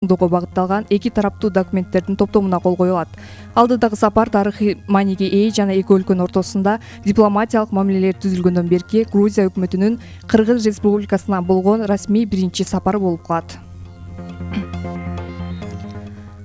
багытталган эки тараптуу документтердин топтомуна кол коюлат. Алдыдагы сапар тарыхый мааниге ээ жана эки өлкөнүн ортосунда дипломатиялык мамилелер түзүлгөндөн берки Грузия өкмөтүнүн Кыргыз Республикасына болгон расмий биринчи сапары болуп калат.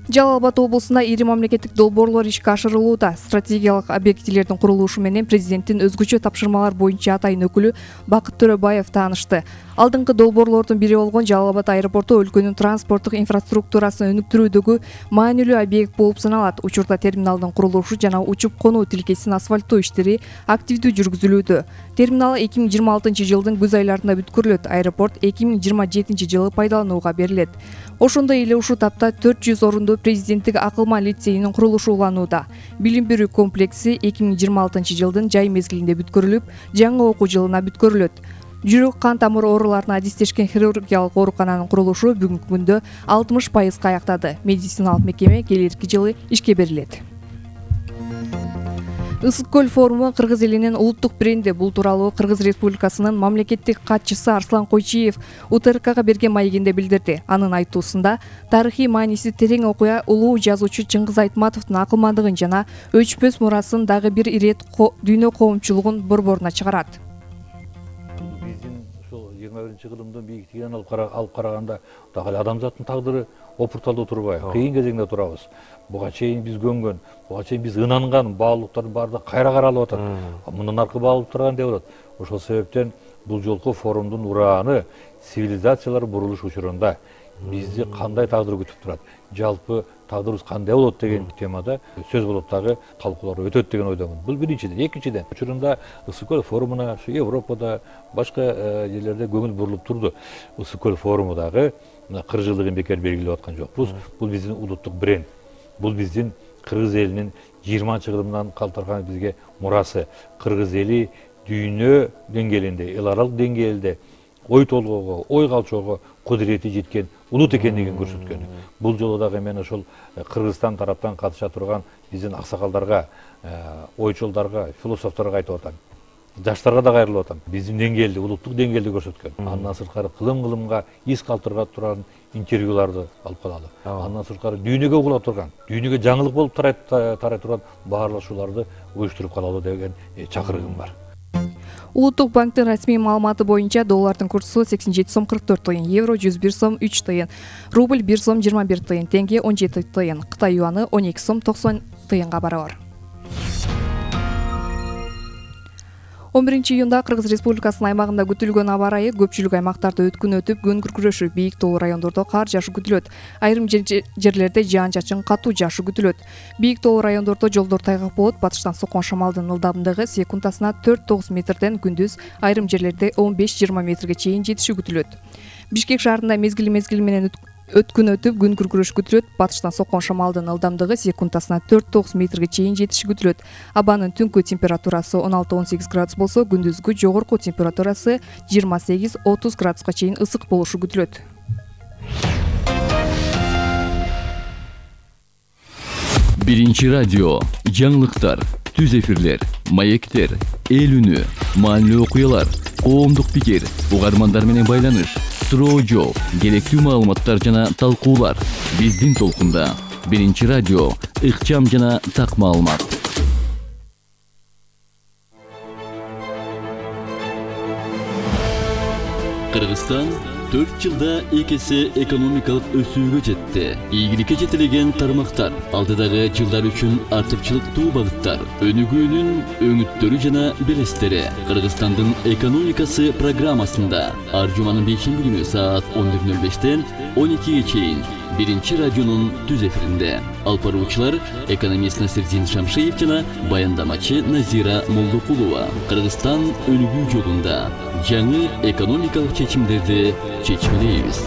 Жалал Абад облусунда ири мамлекеттик долбоорлор ишке ашырылууда. Стратегиялык объектилердин курулушу менен президенттин өзгөчө тапшырмалар боюнча атайын өкүлү Бакыт Төрөбаев таанышты. Алдыңкы долбоорлордун бири болгон Жалал Абад аэропорту өлкөнүн транспорттук инфраструктурасын өнүктүрүүдөгү маанилүү объект болуп саналат. Учурда терминалдын курулушу жана учуп конуу тилкесин асфальттоо иштери активдүү жүргүзүлүүдө. Терминал 2026-жылдын күз айларында бүткөрүлөт. Аэропорт 2027-жылы пайдаланууга берилет. Ошондой эле ушул тапта 400 орунду президенттик акылман лицейинин курулушу уланууда. Билим берүү комплекси 2026-жылдын жай мезгилинде бүткөрүлүп, жаңы окуу жылына бүткөрүлөт. Жүрөк кан тамыр ооруларына адистешкен хирургиялык оорукананын курулушу бүгүнкү күндө 60% аяктады. Медициналык мекеме келерки жылы ишке берилет. Ысык көл форуму кыргыз элинин улуттук бренди. Бул тууралуу Кыргыз Республикасынын мамлекеттик катчысы Арслан Койчиев УТРКга берген маегинде билдирди. Анын айтуусунда тарыхый мааниси терең окуя улуу жазуучу Чыңгыз Айтматовдун акылмандыгын жана өчпөс мурасын дагы бир ирет дүйнө коомчулугун борборуна чыгарат. Биздин ушул 21-кылымдын бийиктигинен алып караганда дагы адамзаттын тагдыры опурталдуу турбайбы? Кыйын кезеңде турабыз. Буга чейин биз көнгөн, буга чейин биз ынанган баалуулуктардын баардыгы кайра каралып атат. Мындан аркы баалып турган деп атат. Ошол себептен бул жолку форумдун урааны цивилизациялар бурулуш учурунда бизди кандай тагдыр күтүп турат, жалпы тагдырыбыз кандай болот деген темада сөз болот, дагы талкуулар өтөт деген ойдомун. Бул биринчиден. Экинчиден, учурунда Ысык көл форумуна ушу Европада, башка жерлерде көңүл бурулуп турду. Ысык көл форуму дагы 40 жылдыгын бекер белгилеп аткан жокпуз. Бул биздин улуттук бренд. Бул биздин кыргыз элинин 20-кылымдан калтырган бизге мурасы. Кыргыз эли дүйнө деңгээлинде, эл аралык деңгээлде ой толгоого, ой калчоого кудурети жеткен улут экендигин көрсөткөн. Бул жолу дагы мен ошол Кыргызстан тараптан катыша турган биздин аксакалдарга, ойчолдорго, философторго айтып атам. Жаштарга да кайрылып атам. Биздин деңгээлди, улуттук деңгээлди көрсөткөн. Андан сырткары кылым-кылымга из калтырган турган интервьюларды алып калалы. Андан сырткары дүйнөгө угула турган, дүйнөгө жаңылык болуп тарай турган баарлашууларды уюштуруп калалы деген чакырыгым бар. Улуттук банктын расмий маалыматы боюнча доллардын курсу 87 сом 44 тыйын, евро 101 сом 3 тыйын, рубль 1 сом 21 тыйын, теңге 17 тыйын, Кытай юаны 12 сом 90 тыйынга барабар. 11-июнда Кыргыз Республикасынын аймагында күтүлгөн аба ырайы көпчүлүк аймактарда өткүн өтүп, күн күркүрөшү, бийик тоолуу райондордо кар жаашы күтүлөт. Айрым жерлерде жаан-чачын катуу жаашы күтүлөт. Бийик тоолуу райондордо жолдор тайгак болот. Батыштан соккон шамалдын ылдамдыгы секундасына 4-9 метрден, күндүз айрым жерлерде 15-20 метрге чейин жетиши күтүлөт. Бишкек шаарында мезгил менен өткүн өтүп, күн күркүрөш күтүлөт. Батыштан соккон шамалдын ылдамдыгы секундасына 4-9 метрге чейин жетиши күтүлөт. Абанын түнкү температурасы 16-18 градус болсо, күндүзгү жогорку температурасы 28-30 градуска чейин ысык болушу күтүлөт. Биринчи радио, жаңылыктар, түз эфирлер, маектер, эл үнү, маанилүү окуялар, коомдук пикир, угармандар менен байланыш, суроо жооп, керектүү маалыматтар жана талкуулар. Биздин толкунда Биринчи радио, ыкчам жана так маалымат. Кыргызстан 4 жылда 2 эсе экономикалык өсүүгө жетти. Ийгиликке жетилген тармактар, алдыдагы жылдар үчүн артыкчылыктуу багыттар, өнүгүүнүн өңүттөрү жана белестери. Кыргызстандын экономикасы программасында ар жуманын 5-күнү саат 11:05-тен 12-ге чейин Биринчи радионун түз эфиринде. Алып баруучулар экономист Насирдин Шамшиев жана баяндамачы Назира Молдокулова. Кыргызстан өнүгүү жолунда жаңы экономикалык чечимдерди чечмелейбиз.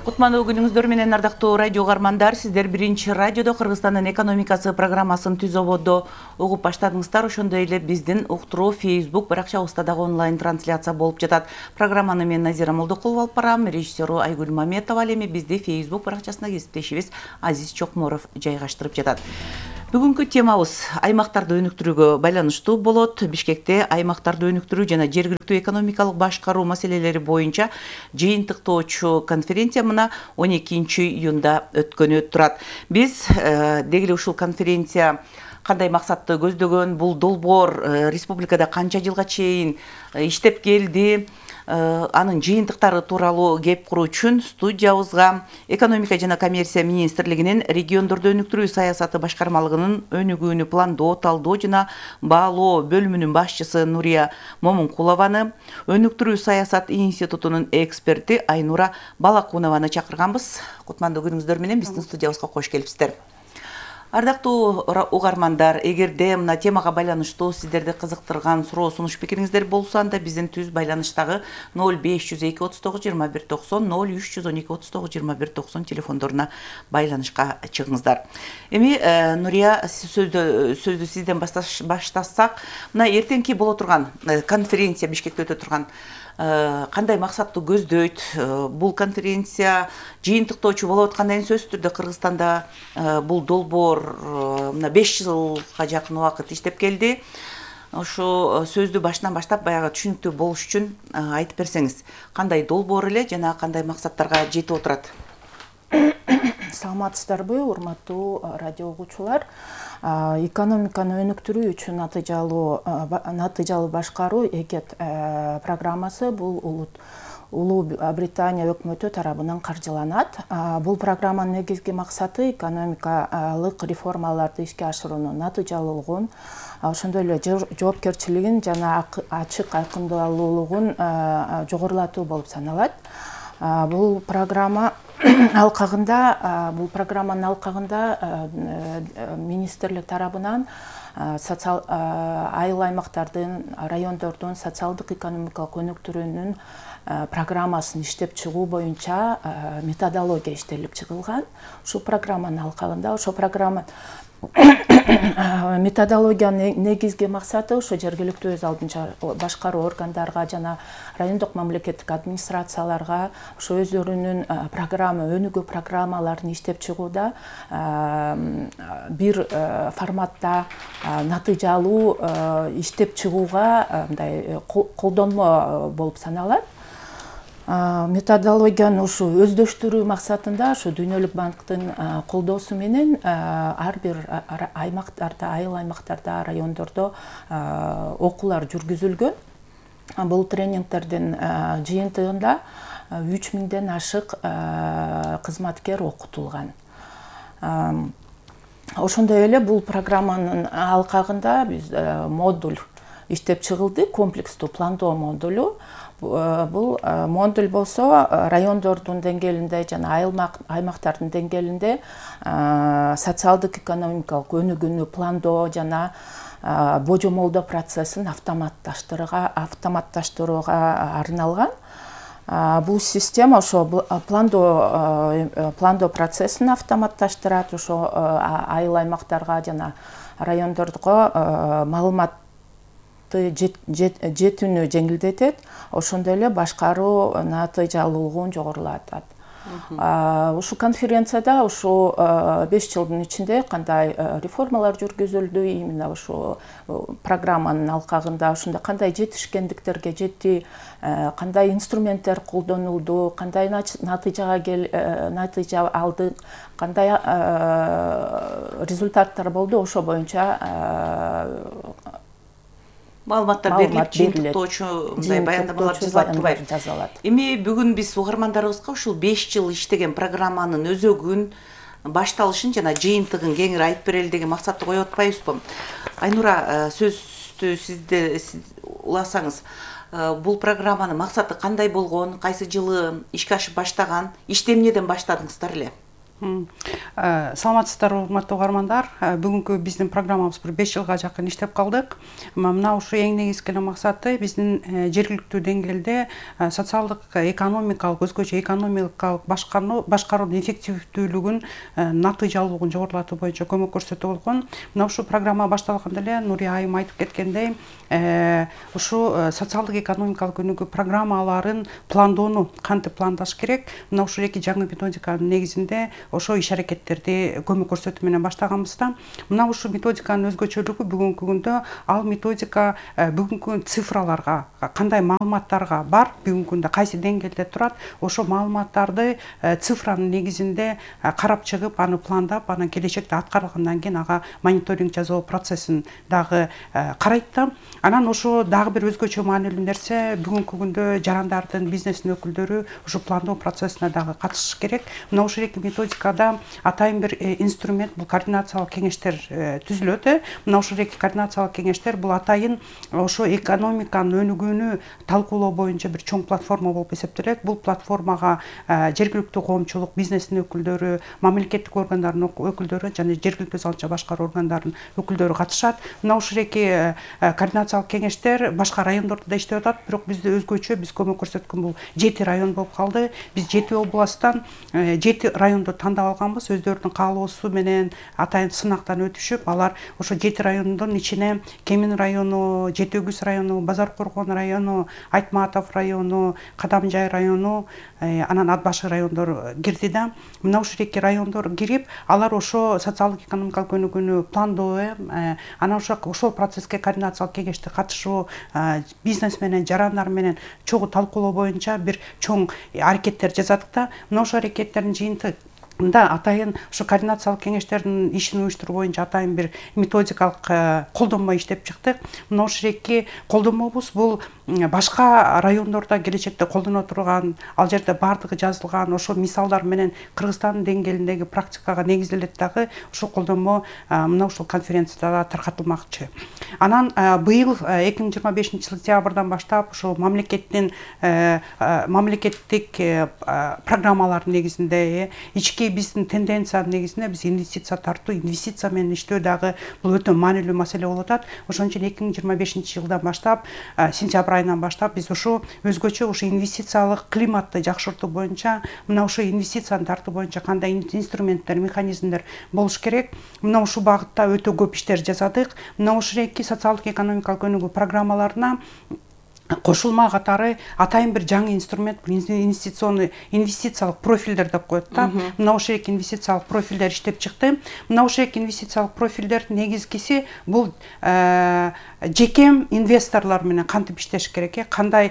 Кутмандуу күнүңүздөр менен ардактуу радио угармандар, сиздер Биринчи радиодо Кыргызстандын экономикасы программасын түз ободдо угуп баштадыңыздар. Ошондой эле биздин уктуруу Facebook баракчабызда дагы онлайн трансляция болуп жатат. Программаны мен Назира Молдокулова алып барам, режиссеру Айгүл Маметова, ал эми бизди Facebook баракчасына кесиптешибиз Азиз Чокморов жайгаштырып жатат. Бүгүнкү темабыз аймактарды өнүктүрүүгө байланыштуу болот. Бишкекте аймактарды өнүктүрүү жана жергиликтүү экономикалык башкаруу маселелери боюнча жыйынтыктоочу конференция мына 12-июнда өткөнү турат. Биз деги ушул конференция кандай максатты көздөгөн, бул долбоор республикада канча жылга чейин иштеп келди, анын жыйынтыктары тууралуу кеп куруу үчүн студиябызга экономика жана коммерция министрлигинин региондорду өнүктүрүү саясаты башкармалыгынын өнүгүүнү пландоо, талдоо жана баалоо бөлүмүнүн башчысы Нурия Момункулованы, өнүктүрүү саясат институтунун эксперти Айнура Балакунованы чакырганбыз. Кутмандуу күнүңүздөр менен биздин студиябызга кош келипсиздер. Ардактуу угармандар, эгерде мына темага байланыштуу сиздерди кызыктырган суроо сунуш пикириңиздер болсо, анда биздин түз байланыштагы 0502 39 21 90 0312 39 21 90 телефондоруна байланышка чыгыңыздар. Эми Нурия, сөздү сизден баштасак, мына эртеңки боло турган конференция, Бишкекте өтө турган кандай максатты көздөйт? Бул конференция жыйынтыктоочу болуп аткандан кийин сөзсүз түрдө Кыргызстанда бул долбоор мына 5 жылга жакын убакыт иштеп келди. Ошо сөздү башынан баштап баягы түшүнүктүү болуш үчүн айтып берсеңиз, кандай долбоор эле жана кандай максаттарга жетип отурат? Саламатсыздарбы, урматтуу радио угуучулар. Экономиканы өнүктүрүү үчүн натыйжалуу башкаруу эгет программасы бул Улуу Британия өкмөтү тарабынан каржыланат. Бул программанын негизги максаты экономикалык реформаларды ишке ашыруунун натыйжалуулугун, ошондой эле жоопкерчилигин жана ачык айкындалуулугун жогорулатуу болуп саналат. Бул программанын алкагында министрлик тарабынан айыл аймактардын, райондордун социалдык экономикалык өнүктүрүүнүн программасын иштеп чыгуу боюнча методология иштелип чыгылган. Ушул программанын алкагында, ошол программа методологиянын негизги максаты ошо жергиликтүү өз алдынча башкаруу органдарга жана райондук мамлекеттик администрацияларга ошо өздөрүнүн өнүгүү программаларын иштеп чыгууда бир форматта натыйжалуу иштеп чыгууга мындай колдонмо болуп саналат. Методологияны ушу өздөштүрүү максатында ушу Дүйнөлүк банктын колдоосу менен ар бир аймактарда, айыл аймактарда, райондордо окуулар жүргүзүлгөн. Бул тренингтердин жыйынтыгында 3000ден ашык кызматкер окутулган. Ошондой эле бул программанын алкагында биз модуль иштеп чыгылды, комплекстүү пландоо модулу. Бул модуль болсо райондордун деңгээлинде жана айыл аймактардын деңгээлинде социалдык экономикалык өнүгүүнү пландоо жана божомолдоо процессин автоматташтырууга арналган. Бул система ошо пландоо процессин автоматташтырат, ошо айыл аймактарга жана райондорго маалымат жетүүнү жеңилдетет, ошондой эле башкаруу натыйжалуулугун жогорулатат. Ушу конференцияда ушу 5 жылдын ичинде кандай реформалар жүргүзүлдү, именно ушу программанын алкагында ошондо кандай жетишкендиктерге жетти, кандай инструменттер колдонулду, кандай натыйжа алды, кандай результаттар болду, ошо боюнча маалыматтар берилип, жыйынтыктоочу мындай баяндамалар жазылат. Эми бүгүн биз угармандарыбызга ушул 5 жыл иштеген программанын өзөгүн, башталышын жана жыйынтыгын кеңири айтып берели деген максатты коюп атпайбызбы? Айнура, сөздү сизде уласаңыз, бул программанын максаты кандай болгон, кайсы жылы ишке ашып баштаган, ишти эмнеден баштадыңыздар эле? Саламатсыздар, урматтуу угармандар. Бүгүнкү биздин программабыз бир 5 жылга жакын иштеп калдык. Мына ушу эң негизги максаты биздин жергиликтүү деңгээлде социалдык, экономикалык, өзгөчө экономикалык башкаруунун эффективдүүлүгүн, натыйжалуулугун жогорулатуу боюнча көмөк көрсөтүү болгон. Мына ушу программа башталганда эле Нурия айым айтып кеткендей, ушу социалдык, экономикалык өнүгүү программаларын пландоону кантип пландаш керек? Мына ушул эки жаңы методиканын негизинде ошо иш аракеттерди көмөк көрсөтүү менен баштаганбыз да. Мына ушул методиканын өзгөчөлүгү бүгүнкү күндө ал методика бүгүнкү цифраларга, кандай маалыматтарга бар, бүгүнкү күндө кайсы деңгээлде турат, ошо маалыматтарды цифранын негизинде карап чыгып, аны пландап, анан келечекте аткарылгандан кийин ага мониторинг жасоо процессин дагы карайт да. Анан ошо дагы бир өзгөчө маанилүү нерсе, бүгүнкү күндө жарандардын, бизнестин өкүлдөрү ушу пландоо процессине дагы катышыш керек. Мына ушул эки методикада атайын бир инструмент, бул координациялык кеңештер түзүлөт. Мына ушул эки координациялык кеңештер бул атайын ошо экономиканын өнүгүүнү талкуулоо боюнча бир чоң платформа болуп эсептелет. Бул платформага жергиликтүү коомчулук, бизнестин өкүлдөрү, мамлекеттик органдардын өкүлдөрү жана жергиликтүү салымча башкаруу органдарынын өкүлдөрү катышат. Мына ушул эки координациялык кеңештер башка райондордо да иштеп атат, бирок бизде өзгөчө, биз көмөк көрсөткөн бул 7 район болуп калды. Биз 7 областтан 7 районду тандап алганбыз, өздөрүнүн каалоосу менен атайын сынактан өтүшүп, алар ошо 7 райондун ичине Кемин району, Жети Өгүз району, Базар Коргон району, Айтматов району, Кадамжай району, анан Ат Башы райондору кирди да. Мына ушул эки райондор кирип, алар ошо социалдык экономикалык өнүгүүнү пландоо, анан ошол процесске координациялык кеңеште катышуу, бизнес менен, жарандар менен чогуу талкуулоо боюнча бир чоң аракеттер жасадык да. Мына ошол аракеттердин жыйынтыгында атайын ушу координациялык кеңештердин ишин уюштуруу боюнча атайын бир методикалык колдонмо иштеп чыктык. Мына ушул эки колдонмобуз бул башка райондордо келечекте колдоно турган, ал жерде баардыгы жазылган ошол мисалдар менен Кыргызстандын деңгээлиндеги практикага негизделет дагы. Ушул колдонмо мына ушул конференцияда таркатылмакчы. Анан быйыл 2025 сентябрдан баштап ушул мамлекеттик программалардын негизинде, ички биздин тенденциянын негизинде биз инвестиция тартуу, инвестиция менен иштөө дагы бул өтө маанилүү маселе болуп атат. Ошон үчүн 2025 жылдан баштап, сентябрь айынан баштап биз ушу өзгөчө ушу инвестициялык климатты жакшыртуу боюнча, мына ушу инвестицияны тартуу боюнча кандай инструменттер, механизмдер болуш керек. Мына ушул багытта өтө көп иштер жасадык. Мына ушул эки социалдык экономикалык өнүгүү программаларына кошулма катары атайын бир жаңы инструмент, инвестициялык профилдер деп коет да. Мына ушул эки инвестициялык профилдер иштеп чыкты. Мына ушул эки инвестициялык профилдердин негизгиси бул жеке инвесторлор менен кантип иштеш керек, кандай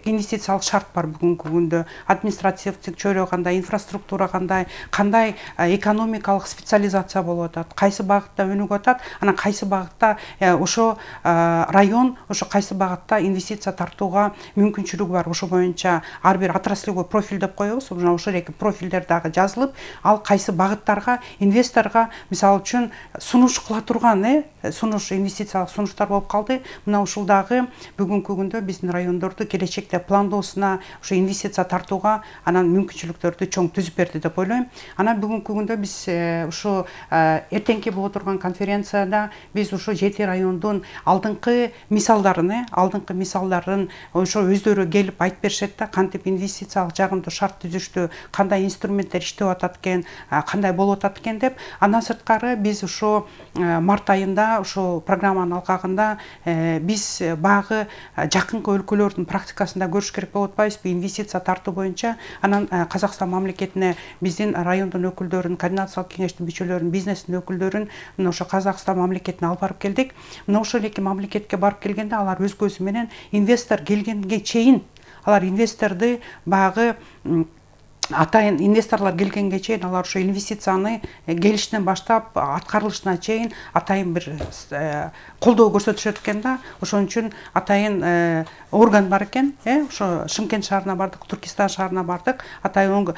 инвестициялык шарт бар бүгүнкү күндө, административдик чөйрө кандай, инфраструктура кандай экономикалык специализация болуп атат, кайсы багытта өнүгүп атат, анан кайсы багытта ошо район, ошо кайсы багытта инвестиция тартууга мүмкүнчүлүгү бар. Ошо боюнча ар бир отраслевой профиль деп коебуз. Мына ошол эки профилдер дагы жазылып, ал кайсы багыттарга инвесторго мисалы үчүн сунуш кыла турган, инвестициялык сунуштар болуп калды. Мына ушул дагы бүгүнкү күндө биздин райондорду келечекте пландоосуна, ошо инвестиция тартууга анан мүмкүнчүлүктөрдү чоң түзүп берди деп ойлойм. Анан бүгүнкү күндө биз ушу эртеңки боло турган конференцияда биз ушу 7 райондун алдыңкы мисалдарын ошо өздөрү келип айтып беришет да, кантип инвестициялык жагымдуу шарт түзүштү, кандай инструменттер иштеп атат экен, кандай болуп атат экен деп. Андан сырткары биз ошо март айында ошо программанын алкагында биз багы жакынкы өлкөлөрдүн практикасында көрүш керек болуп атпайбызбы инвестиция тартуу боюнча. Анан Казакстан мамлекетине биздин райондун өкүлдөрүн, координациялык кеңештин мүчөлөрүн, бизнестин өкүлдөрүн ошо Казакстан мамлекетине алып барып келдик. Мына ошол эки мамлекетке барып келгенде алар өз көзү менен инвестор келгенге чейин, алар инвесторду багы атайын инвесторлор келгенге чейин алар ошо инвестицияны келишинен баштап аткарылышына чейин атайын бир колдоо көрсөтүшөт экен да. Ошон үчүн атайын орган бар экен, ошо Шымкент шаарына бардык, Туркестан шаарына бардык, атайын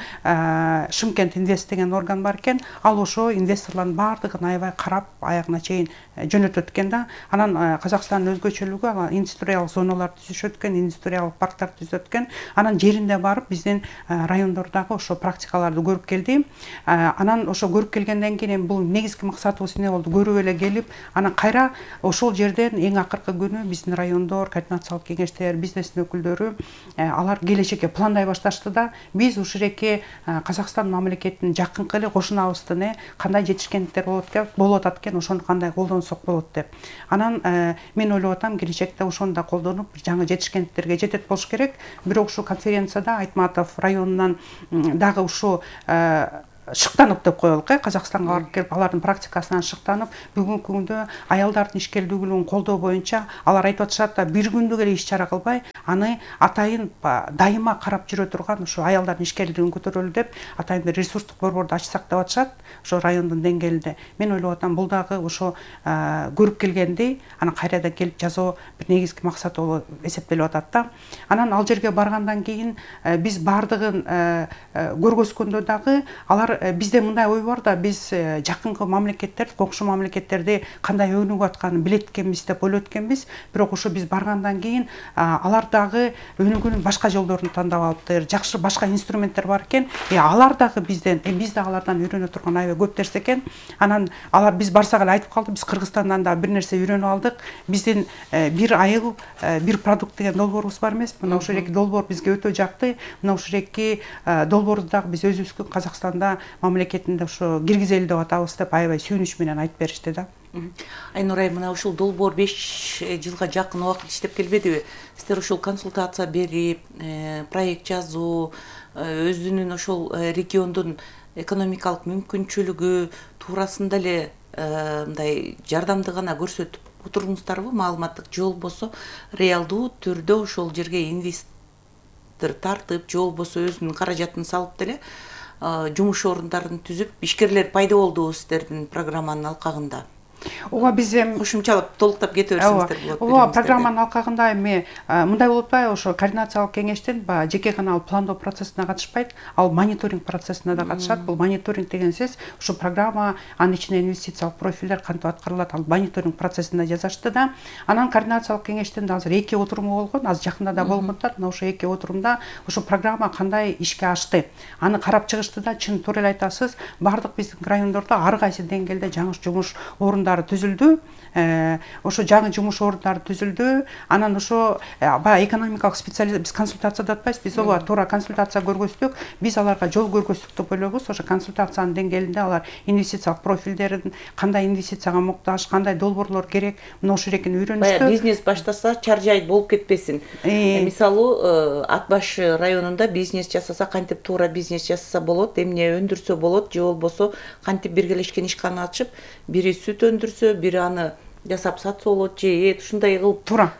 Шымкент инвест деген орган бар экен. Ал ошо инвесторлордун баардыгын аябай карап аягына чейин жөнөтөт экен да. Анан Казакстандын өзгөчөлүгү ал индустриалдык зоналар түзүшөт экен, индустриалдык парктар түзөт экен. Анан жеринде барып биздин райондордогу ошо практикаларды көрүп келди. Анан ошо көрүп келгенден кийин бул негизги максатыбыз эмне болду? Көрүп эле келип, анан кайра ошол жерден эң акыркы күнү биздин райондор, координациялык кеңештер, бизнестин өкүлдөрү алар келечекке пландай башташты да. Биз ушул эки Казакстан мамлекетинин жакынкы эле кошунабыздын кандай жетишкендиктер болуп атат экен, ошону кандай колдонсок болот деп. Анан мен ойлоп атам, келечекте ошону да колдонуп жаңы жетишкендиктерге жетет болуш керек. Бирок ушул конференцияда Айтматов районунан дагы ушу шыктанып деп коелук, Казакстанга барып келип алардын практикасынан шыктанып, бүгүнкү күндө аялдардын ишкерлүүлүгүн колдоо боюнча алар айтып атышат да, бир күндүк эле иш чара кылбай, аны атайын дайыма карап жүрө турган ушу аялдардын ишкерлүүлүгүн көтөрөлү деп атайын бир ресурстук борборду ачсак деп атышат, ошо райондун деңгээлинде. Мен ойлоп атам, бул дагы ошо көрүп келгендей, анан кайрадан келип жасоо бир негизги максат болуп эсептелип атат да. Анан ал жерге баргандан кийин биз бардыгын көргөзгөндө дагы алар бизде мындай ой бар да, биз жакынкы мамлекеттер, кокшу мамлекеттерди кандай өнүгүп атканын билет экенбиз деп ойлойт экенбиз, бирок ошо биз баргандан кийин алар дагы өнүгүүнүн башка жолдорун тандап алыптыр, жакшы башка инструменттер бар экен, алар дагы бизден, биз да алардан үйрөнө турган аябай көп нерсе экен. Анан алар биз барсак эле айтып калды, биз Кыргызстандан да бир нерсе үйрөнүп алдык, биздин бир айыл бир продукт деген долбоорубуз бар эмес, мына ошол эки долбоор бизге өтө жакты, мына ошол эки долбоорду дагы биз өзүбүздүн Казакстанда мамлекетинде ошо киргизели деп атабыз деп аябай сүйүнүч менен айтып беришти да. Айнур айым, мына ушул долбоор 5 жылга жакын убакыт иштеп келбедиби? Сиздер ушул консультация берип, проект жазуу, өзүнүн ошол региондун экономикалык мүмкүнчүлүгү туурасында эле мындай жардамды гана көрсөтүп отуруңуздарбы, маалыматтык же болбосо реалдуу түрдө ошол жерге инвестор тартып, же болбосо өзүнүн каражатын салып деле жумуш орундарын түзүп, ишкерлер пайда болдубу сиздердин программанын алкагында? Ооба, биз кошумчалап толуктап кете берсеңиздер болот. Ооба, программанын алкагында эми мындай болуп атпайбы, ошо координациялык кеңештин жеке гана пландоо процессине катышпайт, ал мониторинг процессине да катышат. Бул мониторинг деген сөз, ушу программа, анын ичинде инвестициялык профилдер кантип аткарылат, ал мониторинг процессинде жазышты да. Анан координациялык кеңештин азыр 2 отуруму болгон, азыр жакында да болуп атат. Мына ошо 2 отурумда ошо программа кандай ишке ашты, аны карап чыгышты да. Чын туура эле айтасыз, бардык биздин райондордо ар кайсы деңгээлде жаңы жумуш орундары түзүлдү. Ошо жаңы жумуш орундары түзүлдү. Анан ошо баягы экономикалык специалист, биз консультация деп атпайбыз, биз ооба туура консультация көргөздүк. Биз аларга жол көргөздүк деп ойлойбуз. Ошо консультациянын деңгээлинде алар инвестициялык профилдерин, кандай инвестицияга муктаж, кандай долбоорлор керек, мына ошол экени үйрөнүштү. Баягы бизнес баштаса чаржай болуп кетпесин. Мисалы, Ат баш районунда бизнес жасаса, кантип туура бизнес жасаса болот, эмне өндүрсө болот, же болбосо кантип биргелешкен ишкана ачып, бири сүт өндүрсө, бири аны жасап сатса болот, же ушундай кылып туура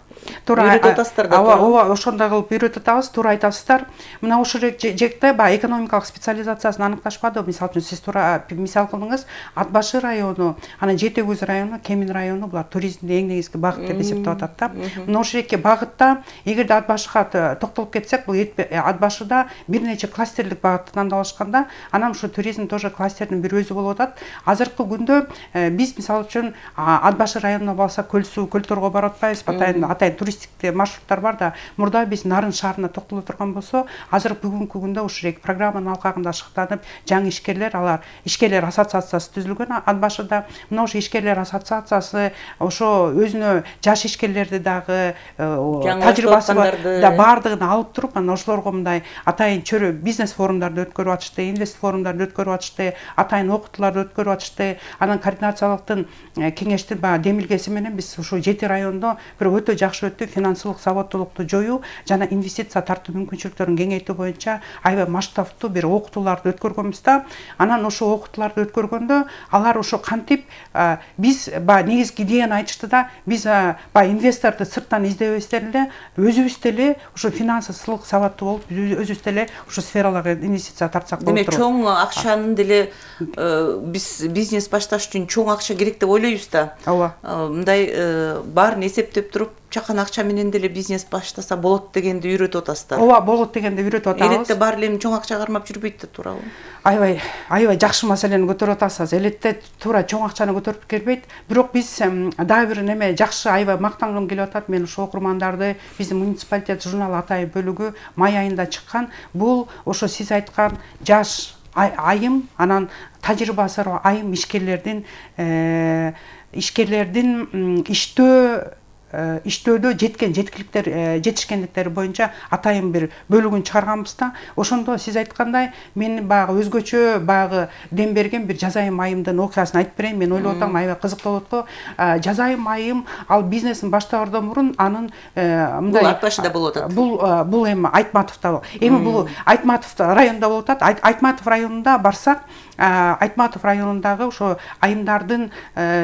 үйрөтүп атасыздар да. Ооба, ошондой кылып үйрөтүп атабыз, туура айтасыздар. Мына ошол жекте баягы экономикалык специализациясын аныкташпады. Мисалы үчүн сиз туура мисал кылдыңыз, Ат башы району, анан Жети көз району, Кемин району, булар туризмдин эң негизги багыт деп эсептеп атат да. Мына ошол эки багытта, эгерде Ат башыга токтолуп кетсек, бул Ат башыда бир нече кластерлик багытты тандап алышканда, анан ушу туризм тоже кластердин бир өзү болуп атат. Азыркы күндө биз мисалы үчүн Ат башы районуна барсак, көл суу, көлтөргө барып атпайбыз, атайын туристик маршруттар бар да. Мурда биз Нарын шаарына токтоло турган болсо, азыр бүгүнкү күндө ушул программанын алкагында шыктанып, жаңы ишкерлер, алар ишкерлер ассоциациясы түзүлгөн Ат башыда. Мына ошо ишкерлер ассоциациясы ошо өзүнө жаш ишкерлерди дагы тажрыйбасы да бардыгын алып туруп, анан ошолорго мындай атайын чөйрө бизнес форумдарды өткөрүп атышты, инвест форумдарды өткөрүп атышты, атайын окутууларды өткөрүп атышты. Анан координациялыктын кеңештин демилгеси менен биз ушу Жети райондо бир өтө жакшы өттү, финансылык сабаттуулукту жоюу жана инвестиция тартуу мүмкүнчүлүктөрүн кеңейтүү боюнча аябай масштабтуу бир окутууларды өткөргөнбүз да. Анан ошо окутууларды өткөргөндө алар ошо кантип биз негизги идеяны айтышты да, биз инвесторду сырттан издебестен эле өзүбүз деле ошо финансылык сабаттуу болуп, өзүбүз деле ошо сфераларга инвестиция тартсак болот. Демек, чоң акчанын деле биз бизнес башташ үчүн чоң акча керек деп ойлойбуз да. Ооба. Мындай баарын эсептеп туруп, чакан акча менен деле бизнес баштаса болот дегенди үйрөтүп атасыздар. Ооба, болот дегенди үйрөтүп атабыз. Элетте баары эле чоң акча кармап жүрбөйт да, туурабы? Аябай жакшы маселени көтөрүп атасыз. Элетте туура чоң акчаны көтөрүп келбейт. Бирок биз дагы бир неме жакшы, аябай мактангым келип атат. Мен ошо окурмандарды биздин муниципалитет журналы атайын бөлүгү май айында чыккан. Бул ошо сиз айткан жаш айым, анан тажрыйбасы бар айым ишкерлердин иштөөдө жеткен жетишкендиктери боюнча атайын бир бөлүгүн чыгарганбыз да. Ошондо сиз айткандай мен баягы өзгөчө баягы дем берген бир жазайым айымдын окуясын айтып берейин. Мен ойлоп атам, аябай кызыктуу болот го. Жазайым айым ал бизнесин баштаардан мурун анын мындай Ат башыда болуп атат. Бул эми Айтматовдо. Эми бул Айтматов районунда болуп атат. Айтматов районунда барсак, Айтматов районундагы ошо айымдардын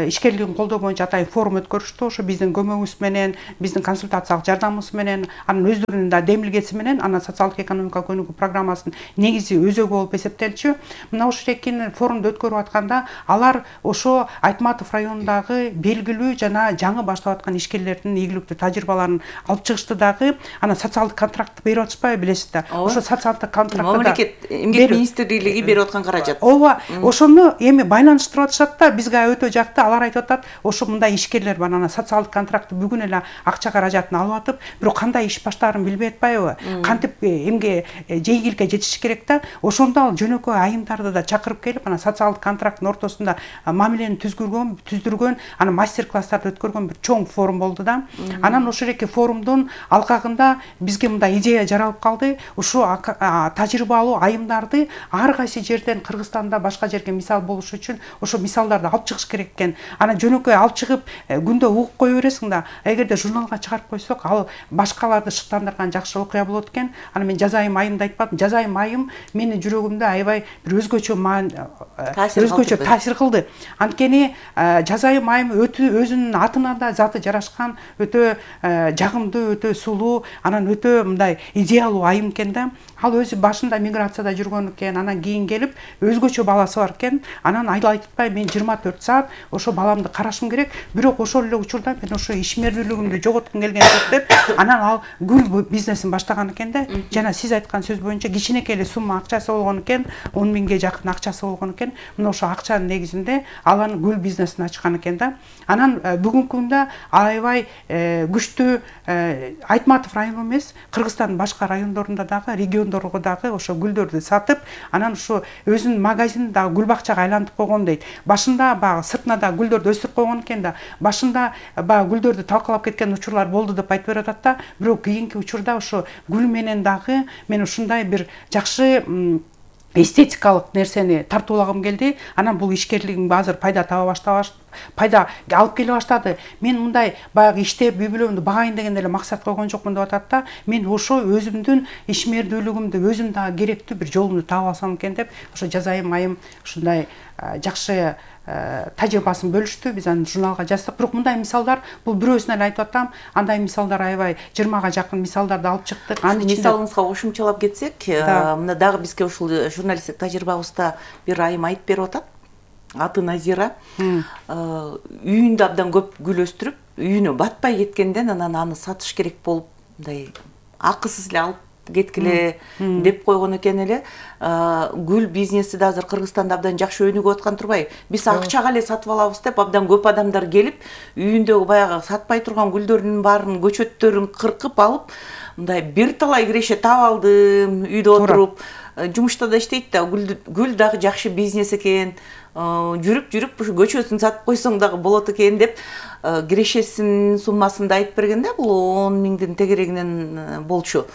ишкерлигин колдоо боюнча атайын форум өткөрүштү. Ошо биздин көмөгүбүз менен, биздин консультациялык жардамыбыз менен, анын өздөрүнүн да демилгеси менен анан социалдык экономикалык өнүгүү программасынын негизи өзөгү болуп эсептелчү. Мына ушул экинин форумду өткөрүп атканда алар ошо Айтматов районундагы белгилүү жана жаңы баштап аткан ишкерлердин ийгиликтүү тажрыйбаларын алып чыгышты дагы. Анан социалдык контрактты берип атышпайбы, билесиз да. Ошо социалдык контрактты мамлекет эмгек министрлиги берип аткан каражат. Ооба, ошону эми байланыштырып атышат да, бизге өтө жакты. Алар айтып атат, ошо мындай ишкерлер бар, анан социалдык контрактты бүгүн эле акча каражатын алып атып, бирок кандай иш баштаарын билбей атпайбы? Кантип эмге жейгиликке жетиш керек да? Ошондо ал жөнөкөй айымдарды да чакырып келип, анан социалдык контракттын ортосунда мамилени түздүргөн, анан мастер-класстарды өткөргөн бир чоң форум болду да. Анан ошол эки форумдун алкагында бизге мындай идея жаралып калды. Ушу тажрыйбалуу айымдарды ар кайсы жерден Кыргызстанда башка жерге мисал болуш үчүн ошо мисалдарды алып чыгыш керек экен. Анан жөнөкөй алып чыгып күндө угуп кое бересиң да. Эгерде журналга чыгарып койсок, ал башкаларды шыктандырган жакшы окуя болот экен. Анан мен жазайым айымды айтпадым. Жазайым айым менин жүрөгүмдө аябай бир өзгөчө таасир кылды. Анткени жазайым айым өзүнүн атына да заты жарашкан, өтө жагымдуу, өтө сулуу, анан өтө мындай идеалдуу айым экен да. Ал өзү башында миграцияда жүргөн экен, анан кийин келип өзгөчө баласы бар экен. Анан айтпай мен 24 саат ошо баламды карашым керек. Бирок ошол эле учурда мен ошо ишмердүүлүгүмдү жоготкум келген жок деп, анан ал гүл бизнесин баштаган экен да. Жана сиз айткан сөз боюнча кичинекей эле сумма акчасы болгон экен, 10 миңге жакын акчасы болгон экен. Мына ошо акчанын негизинде ал анын гүл бизнесин ачкан экен да. Анан бүгүнкү күндө аябай күчтүү Айтматов району эмес, Кыргызстандын башка райондорунда дагы, региондорго дагы ошо гүлдөрдү сатып, анан ошо өзүнүн магазинин дагы гүл бакчага айлантып койгон дейт. Башында баягы сыртына да гүлдөрдү өстүрүп койгон экен да. Башында баягы гүлдөрдү талкалап кеткен учурлар болду деп айтып берип атат да. Бирок кийинки учурда ошо гүл менен дагы мен ушундай бир жакшы эстетикалык нерсени тартуулагым келди. Анан бул ишкерлигим азыр пайда пайда алып келе баштады. Мен мындай баягы иштеп, үй бүлөмдү багайын деген эле максат койгон жокмун деп атат да. Мен ошо өзүмдүн ишмердүүлүгүмдү, өзүм дагы керектүү бир жолумду таап алсам экен деп, ошо жазайым айым ушундай жакшы тажрыйбасын бөлүштү. Биз аны журналга жаздык. Бирок мындай мисалдар, бул бирөөсүнө эле айтып атам, андай мисалдар аябай 20га жакын мисалдарды алып чыктык. Анын мисалыңызга кошумчалап кетсек, мына дагы бизге ушул журналисттик тажрыйбабызда бир айым айтып берип атат. Аты Назира. Үйүндө абдан көп гүл өстүрүп, үйүнө батпай кеткенден анан аны сатыш керек болуп, мындай акысыз эле алып кеткиле деп койгон экен эле. Гүл бизнеси да азыр Кыргызстанда абдан жакшы өнүгүп аткан турбайбы? Биз акчага эле сатып алабыз деп абдан көп адамдар келип, үйүндөгү баягы сатпай турган гүлдөрдүн баарын, көчөттөрүн кыркып алып, мындай бир талай киреше таап алдым, үйдө отуруп, жумушта да иштейт да, гүл дагы жакшы бизнес экен. Жүрүп ушу көчөсүн сатып койсоң дагы болот экен деп кирешесинин суммасын да айтып бергенде, бул 10 миңдин тегерегинен болчу.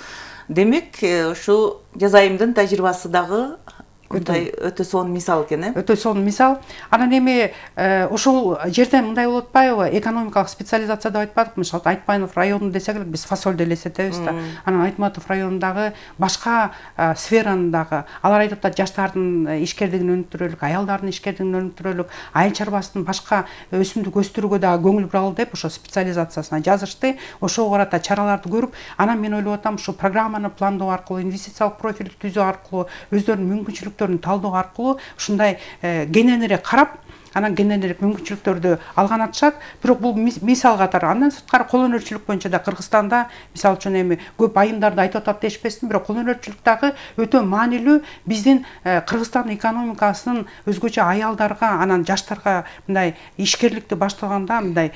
Демек, ушу жазайымдын тажрыйбасы дагы өтө сонун мисал экен, өтө сонун мисал. Анан эми ошол жерден мындай болуп атпайбы? Экономикалык специализация деп айтпадыкпы? Мисалы Айтматов району десек эле биз фасолду элестетебиз да. Анан Айтматов районундагы башка сфераны дагы алар айтып атат, жаштардын ишкерлигин өнүктүрөлүк, аялдардын ишкерлигин өнүктүрөлүк, айыл чарбасынын башка өсүмдүк өстүрүүгө дагы көңүл буралы деп ошо специализациясына жазышты. Ошого карата чараларды көрүп, анан мен ойлоп атам, ушу программаны пландоо аркылуу, инвестициялык профилди түзүү аркылуу, өздөрүнүн мүмкүнчүлүктөрүн талдоо аркылуу ушундай кененирээк карап, анан кененирээк мүмкүнчүлүктөрдү алган атышат. Бирок бул мисал катары. Андан сырткары кол өнөрчүлүк боюнча да Кыргызстанда, мисалы үчүн эми көп айымдарды айтып атат дешпесин, бирок кол өнөрчүлүк дагы өтө маанилүү биздин Кыргызстан экономикасынын өзгөчө аялдарга, анан жаштарга мындай ишкерликти баштаганда мындай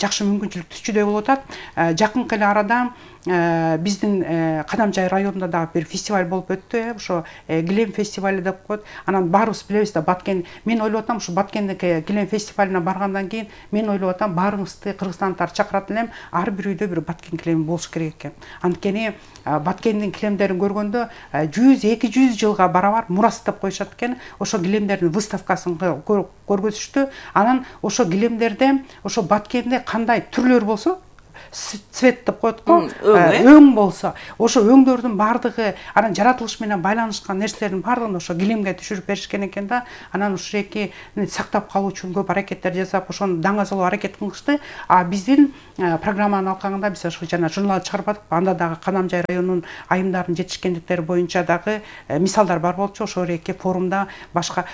жакшы мүмкүнчүлүк түзчүдөй болуп атат. Жакынкы эле арада биздин Кадамжай районунда дагы бир фестиваль болуп өттү, ошо Килем фестивали деп коет. Анан баарыбыз билебиз да, Баткен. Мен ойлоп атам, ушу Баткендеги Килем фестивалына баргандан кийин мен ойлоп атам, баарыбызды кыргызстандыктарды чакырат элем, ар бир үйдө бир Баткен килеми болуш керек экен. Анткени Баткендин килемдерин көргөндө 100-200 жылга барабар мурас деп коюшат экен. Ошо килемдердин выставкасын көргөзүштү. Анан ошо килемдерде, ошо Баткенде кандай түрлөр болсо, цвет деп коет го, өң болсо, ошо өңдөрдүн баардыгы анан жаратылыш менен байланышкан нерселердин баардыгын ошо килемге түшүрүп беришкен экен да. Анан ушул эки сактап калуу үчүн көп аракеттер жасап, ошону даңазалоо аракет кылышты. А биздин программанын алкагында биз ошо жана журнал чыгарбадыкпы, анда дагы Канамжай районунун айымдарынын жетишкендиктери боюнча дагы мисалдар бар болчу. Ошол эки форумда башка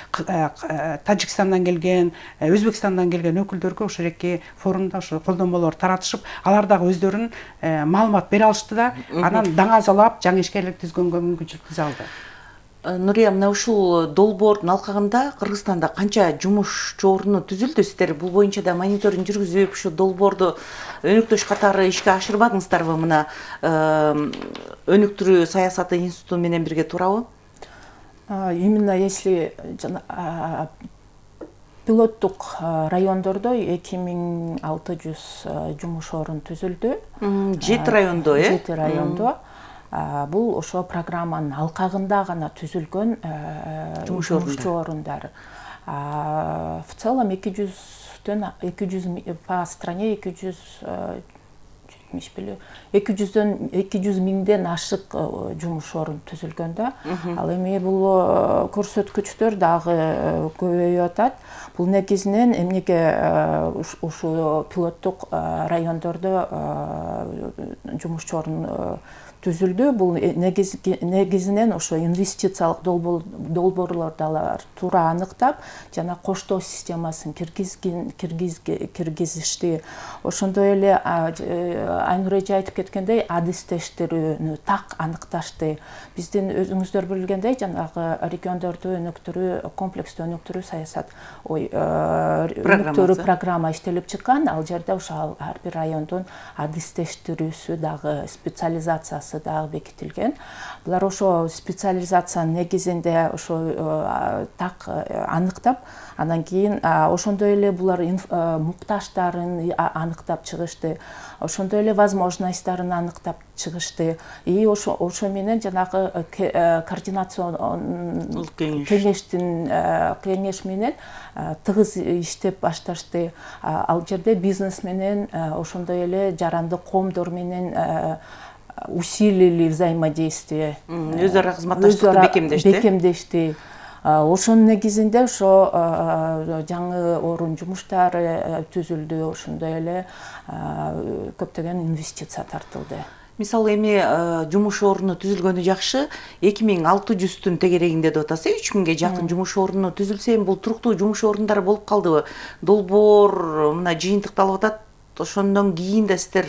Тажикстандан келген, Өзбекстандан келген өкүлдөргө ошол эки форумда ошо колдонмолор таратышып, алар дагы өздөрүнүн маалымат бере алышты да. Анан даңазалап жаңы ишкерлик түзгөнгө мүмкүнчүлүк түзө алды. Нурия, мына ушул долбоордун алкагында Кыргызстанда канча жумушчу орну түзүлдү? Сиздер бул боюнча да мониторинг жүргүзүп, ушу долбоорду өнүктүрүш катары ишке ашырбадыңыздарбы? Мына өнүктүрүү саясаты институту менен бирге туурабы? Именно если пилоттук райондордо 2600 жумуш орун түзүлдү. 7 райондо, 7 райондо. Бул ошо программанын алкагында гана түзүлгөн жумушчу орундар. В целом 200 по стране 200 миңден ашык жумуш орун түзүлгөн да. Ал эми бул көрсөткүчтөр дагы көбөйүп атат. Бул негизинен эмнеге ушул пилоттук райондордо жумушчу орун түзүлдү? Бул негизинен ошо инвестициялык долбоорлорду алар туура аныктап, жана коштоо системасын киргизишти. Ошондой эле Айнур эже айтып кеткендей, адистештирүүнү так аныкташты. Биздин өзүңүздөр билгендей, жанагы региондорду өнүктүрүү, комплекстүү өнүктүрүү саясат өнүктүрүү программа иштелип чыккан. Ал жерде ошо ар бир райондун адистештирүүсү дагы, специализациясы дагы бекитилген. Булар ошо специализациянын негизинде ошо так аныктап, анан кийин ошондой эле булар муктаждарын аныктап чыгышты. Ошондой эле возможностьтарын аныктап чыгышты. И ошо менен жанагы координациондук кеңеш менен тыгыз иштеп башташты. Ал жерде бизнес менен, ошондой эле жарандык коомдор менен усилили взаимодействие. Өзара кызматташтыкты бекемдешти. Ошонун негизинде ошо жаңы орун жумуштары түзүлдү, ошондой эле көптөгөн инвестиция тартылды. Мисалы эми жумуш орну түзүлгөнү жакшы, 2600-түн тегерегинде деп атасыз, 3000ге жакын жумуш орну түзүлсө, эми бул туруктуу жумуш орундары болуп калдыбы? Долбоор мына жыйынтыкталып атат, ошондон кийин да сиздер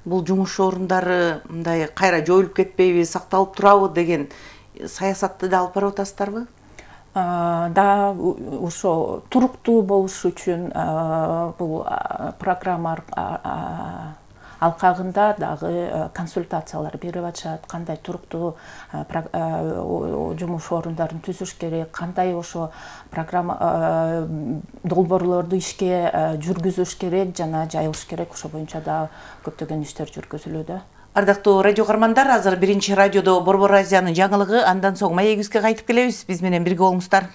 бул жумуш орундары мындай кайра жоюлуп кетпейби, сакталып турабы деген саясатты да алып барып атасыздарбы? Да, ошо туруктуу болуш үчүн бул программа алкагында дагы консультациялар берип атышат, кандай туруктуу жумуш орундарын түзүш керек, кандай ошо программа долбоорлорду ишке жүргүзүш керек жана жайылыш керек, ошо боюнча да көптөгөн иштер жүргүзүлүүдө. Ардактуу радио каармандар, азыр биринчи радиодо Борбор Азиянын жаңылыгы, андан соң маегибизге кайтып келебиз. Биз менен бирге болуңуздар.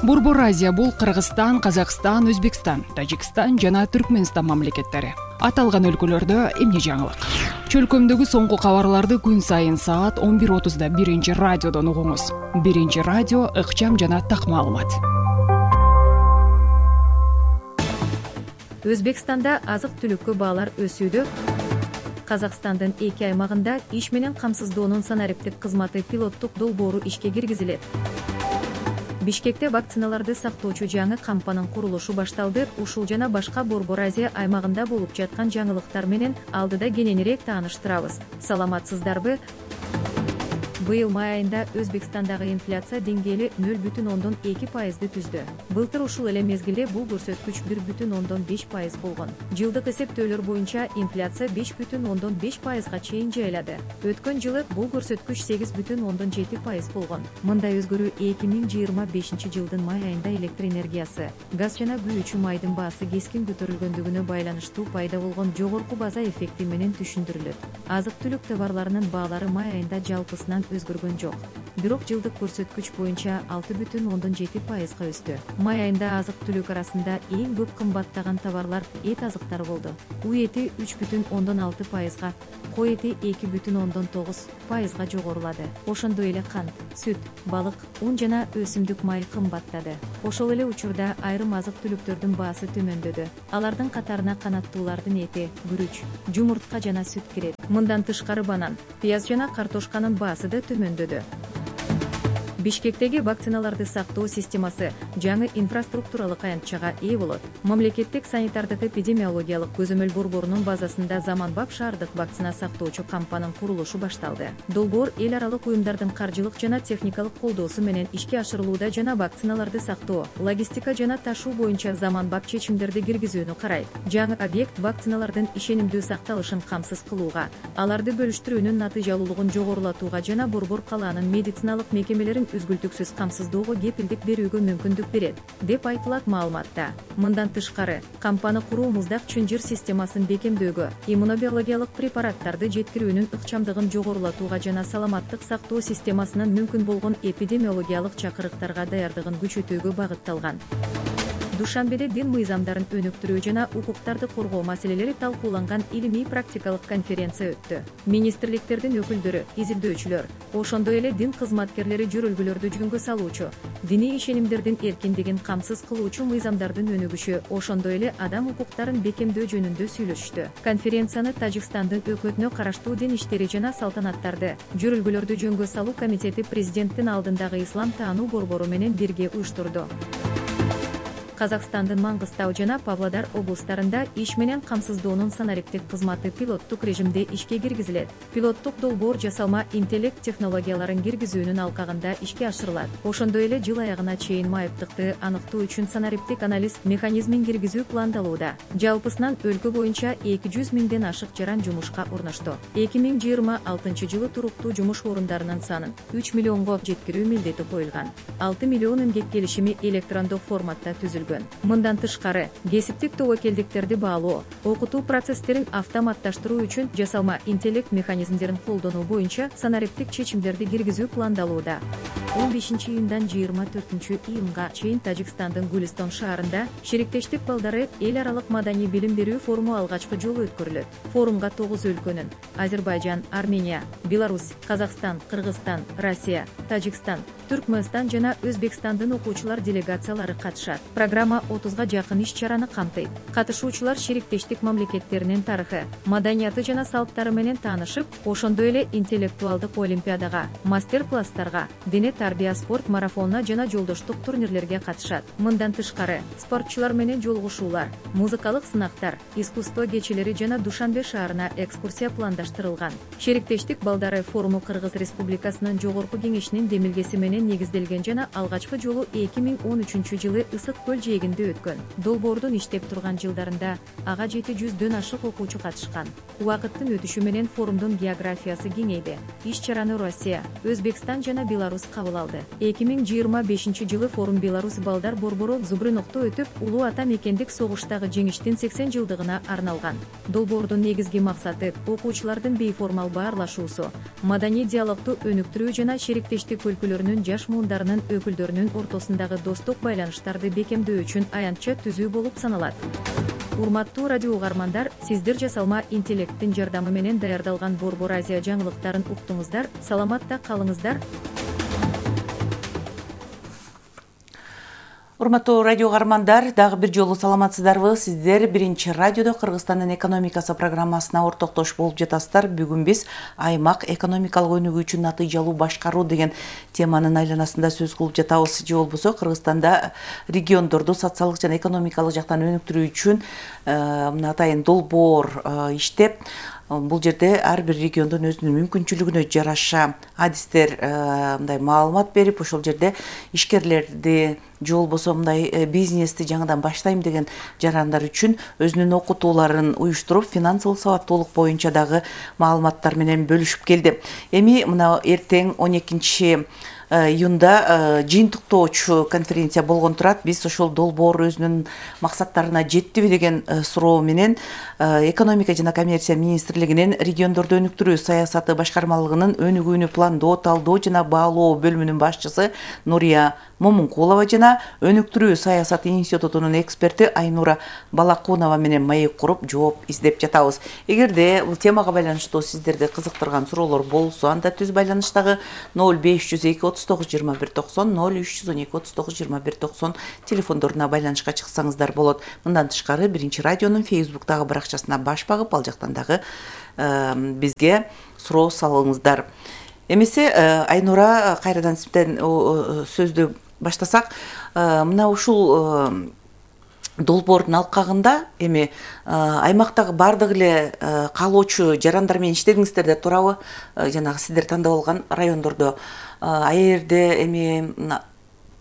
Борбор Азия бул Кыргызстан, Казакстан, Өзбекстан, Тажикстан жана Түркмөнстан мамлекеттери. Аталган өлкөлөрдө эмне жаңылык? Чөлкөмдөгү соңку кабарларды күн сайын саат 11:30да биринчи радиодон угуңуз. Биринчи радио ыкчам жана так маалымат. Өзбекстанда азык-түлүккө баалар өсүүдө. Казакстандын 2 аймагында иш менен камсыздоонун санариптик кызматы пилоттук долбоору ишке киргизилет. Бишкекте вакциналарды сактоочу жаңы кампанын курулушу башталды. Ушул жана башка Борбор Азия аймагында болуп жаткан жаңылыктар менен алдыда кененирээк тааныштырабыз. Саламатсыздарбы? Быйыл май айында Өзбекстандагы инфляция деңгээли 0,2% түздү. Былтыр ушул эле мезгилде бул көрсөткүч 1,5% болгон. Жылдык эсептөөлөр боюнча инфляция 5,5%га чейин жайлады. Өткөн жылы бул көрсөткүч 8,7% болгон. Мындай өзгөрүү 2025 жылдын май айында электр энергиясы, газ жана күйүүчү майдын баасы кескин көтөрүлгөндүгүнө байланыштуу пайда болгон жогорку база эффекти менен түшүндүрүлөт. Азык-түлүк товарларынын баалары май айында жалпысынан анча өзгөргөн жок. Бирок жылдык көрсөткүч боюнча 6,7% өстү. Май айында азык-түлүк арасында эң көп кымбаттаган товарлар эт азыктары болду. У эти 3,6%, кой эти 2,9% жогорулады. Ошондой эле кант, сүт, балык, ун жана өсүмдүк май кымбаттады. Ошол эле учурда айрым азык-түлүктөрдүн баасы төмөндөдү. Алардын катарына канаттуулардын эти, күрүч, жумуртка жана сүт кирет. Мындан тышкары банан, пияз жана картошканын баасы да төмөндөдү. Бишкектеги вакциналарды сактоо системасы жаңы инфраструктуралык аянтчага ээ болот. Мамлекеттик санитардык эпидемиологиялык көзөмөл борборунун базасында заманбап шаардык вакцина сактоочу кампанын курулушу башталды. Долбоор эл аралык уюмдардын каржылык жана техникалык колдоосу менен ишке ашырылууда жана вакциналарды сактоо, логистика жана ташуу боюнча заманбап чечимдерди киргизүүнү карайт. Жаңы объект вакциналардын ишенимдүү сакталышын камсыз кылууга, аларды бөлүштүрүүнүн натыйжалуулугун жогорулатууга жана борбор калаанын медициналык мекемелерин үзгүлтүксүз камсыздоого кепилдик берүүгө мүмкүндүк берет, деп айтылат маалыматта. Мындан тышкары, кампаны куруу муздак чынжыр системасын бекемдөөгө, иммунобиологиялык препараттарды жеткирүүнүн ыкчамдыгын жогорулатууга жана саламаттык сактоо системасынын мүмкүн болгон эпидемиологиялык чакырыктарга даярдыгын күчөтүүгө багытталган. Душанбеде дин мыйзамдарын өнүктүрүү жана укуктарды коргоо маселелери талкууланган илимий практикалык конференция өттү. Министрликтердин өкүлдөрү, изилдөөчүлөр, ошондой эле дин кызматкерлери жөрөлгөлөрдү жүгөнгө салуучу, диний ишенимдердин эркиндигин камсыз кылуучу мыйзамдардын өнүгүшү, ошондой эле адам укуктарын бекемдөө жөнүндө сүйлөшүштү. Конференцияны Тажикстандын өкмөтүнө караштуу дин иштери жана салтанаттарды, жөрөлгөлөрдү жөнгө салуу комитети президенттин алдындагы ислам таануу борбору менен бирге уюштурду. Казакстандын Маңгыстау жана Павлодар облустарында иш менен камсыздоонун санариптик кызматы пилоттук режимде ишке киргизилет. Пилоттук долбоор жасалма интеллект технологияларын киргизүүнүн алкагында ишке ашырылат. Ошондой эле жыл аягына чейин майыптыкты аныктоо үчүн санариптик анализ механизмин киргизүү пландалууда. Жалпысынан өлкө боюнча 200 миңден ашык жаран жумушка орношту. 2026 жылы туруктуу жумуш орундарынын санын 3 миллионго жеткирүү милдети коюлган. 6 миллион эмгек келишими электрондук форматта түзүлгөн. Мындан тышкары, кесиптик тобокелдиктерди баалоо, окутуу процесстерин автоматташтыруу үчүн жасалма интеллект механизмдерин колдонуу боюнча санариптик чечимдерди киргизүү пландалууда. 15-июндан 24-июнга чейин Тажикстандын Гулистон шаарында шериктештик балдары эл аралык маданий билим берүү форуму алгачкы жолу өткөрүлөт. Форумга 9 өлкөнүн Азербайжан, Армения, Беларусь, Казакстан, Кыргызстан, Россия, Тажикстан, Түркмөнстан жана Өзбекстандын окуучулар делегациялары катышат. Программа 30га жакын иш-чараны камтыйт. Катышуучулар шериктештик мамлекеттеринин тарыхы, маданияты жана салттары менен таанышып, ошондой эле интеллектуалдык олимпиадага, мастер-класстарга, дене тарбия спорт марафонуна жана жолдоштук турнирлерге катышат. Мындан тышкары, спортчулар менен жолугушуулар, музыкалык сынактар, искусство кечелери жана Душанбе шаарына экскурсия пландаштырылган. Шериктештик балдары форуму Кыргыз Республикасынын жогорку кеңешинин демилгеси менен негизделген жана алгачкы жолу 2013 жылы Ысык көл жээгинде өткөн. Долбоордун иштеп турган жылдарында ага 700дөн ашык окуучу катышкан. Убакыттын өтүшү менен форумдун географиясы кеңейди. Иш-чараны Россия, Өзбекстан жана Беларусь кабыл алды. 2025 жылы форум Беларусь балдар борбору Зубрынокто өтүп, улуу ата мекендик согуштагы жеңиштин 80 жылдыгына арналган. Долбоордун негизги максаты окуучулардын бейформал баарлашуусу, маданий диалогту өнүктүрүү жана шериктештик өлкөлөрүнүн жаш муундарынын өкүлдөрүнүн ортосундагы достук байланыштарды бекемдөө үчүн аянтча түзүү болуп саналат. Урматтуу радио угармандар, сиздер жасалма интеллекттин жардамы менен даярдалган Борбор Азия жаңылыктарын уктуңуздар. Саламатта калыңыздар. Урматтуу радио угармандар, дагы бир жолу саламатсыздарбы? Сиздер Биринчи радиодо Кыргызстандын экономикасы программасына ортоктош болуп жатасыздар. Бүгүн биз аймак экономикалык өнүгүү үчүн натыйжалуу башкаруу деген теманын айланасында сөз кылып жатабыз. Же болбосо Кыргызстанда региондорду социалдык жана экономикалык жактан өнүктүрүү үчүн мына атайын долбоор иштеп, бул жерде ар бир региондун өзүнүн мүмкүнчүлүгүнө жараша адистер мындай маалымат берип, ошол жерде ишкерлерди же болбосо мындай бизнести жаңыдан баштайм деген жарандар үчүн өзүнүн окутууларын уюштуруп, финансылык сабаттуулук боюнча дагы маалыматтар менен бөлүшүп келди. Эми мына эртең 12 июнда жыйынтыктоочу конференция болгон турат. Биз ошол долбоор өзүнүн максаттарына жеттиби деген суроо менен экономика жана коммерция министрлигинин региондорду өнүктүрүү саясаты башкармалыгынын өнүгүүнү пландоо, талдоо жана баалоо бөлүмүнүн башчысы Нурия Момункулова жана өнүктүрүү саясаты институтунун эксперти Айнура Балакунова менен маек куруп жооп издеп жатабыз. Эгерде бул темага байланыштуу сиздерди кызыктырган суроолор болсо, анда түз байланыштагы 0502 39 21 90 0312 39 21 90 телефондоруна байланышка чыксаңыздар болот. Мындан тышкары Биринчи радионун фейсбуктагы баракчасына баш багып, ал жактан дагы бизге суроо салыңыздар. Эмесе Айнура, кайрадан сизден сөздү баштасак, мына ушул долбоордун алкагында эми аймактагы бардык эле каалоочу жарандар менен иштедиңиздер деп турабы? Жанагы сиздер тандап алган райондордо аерде эми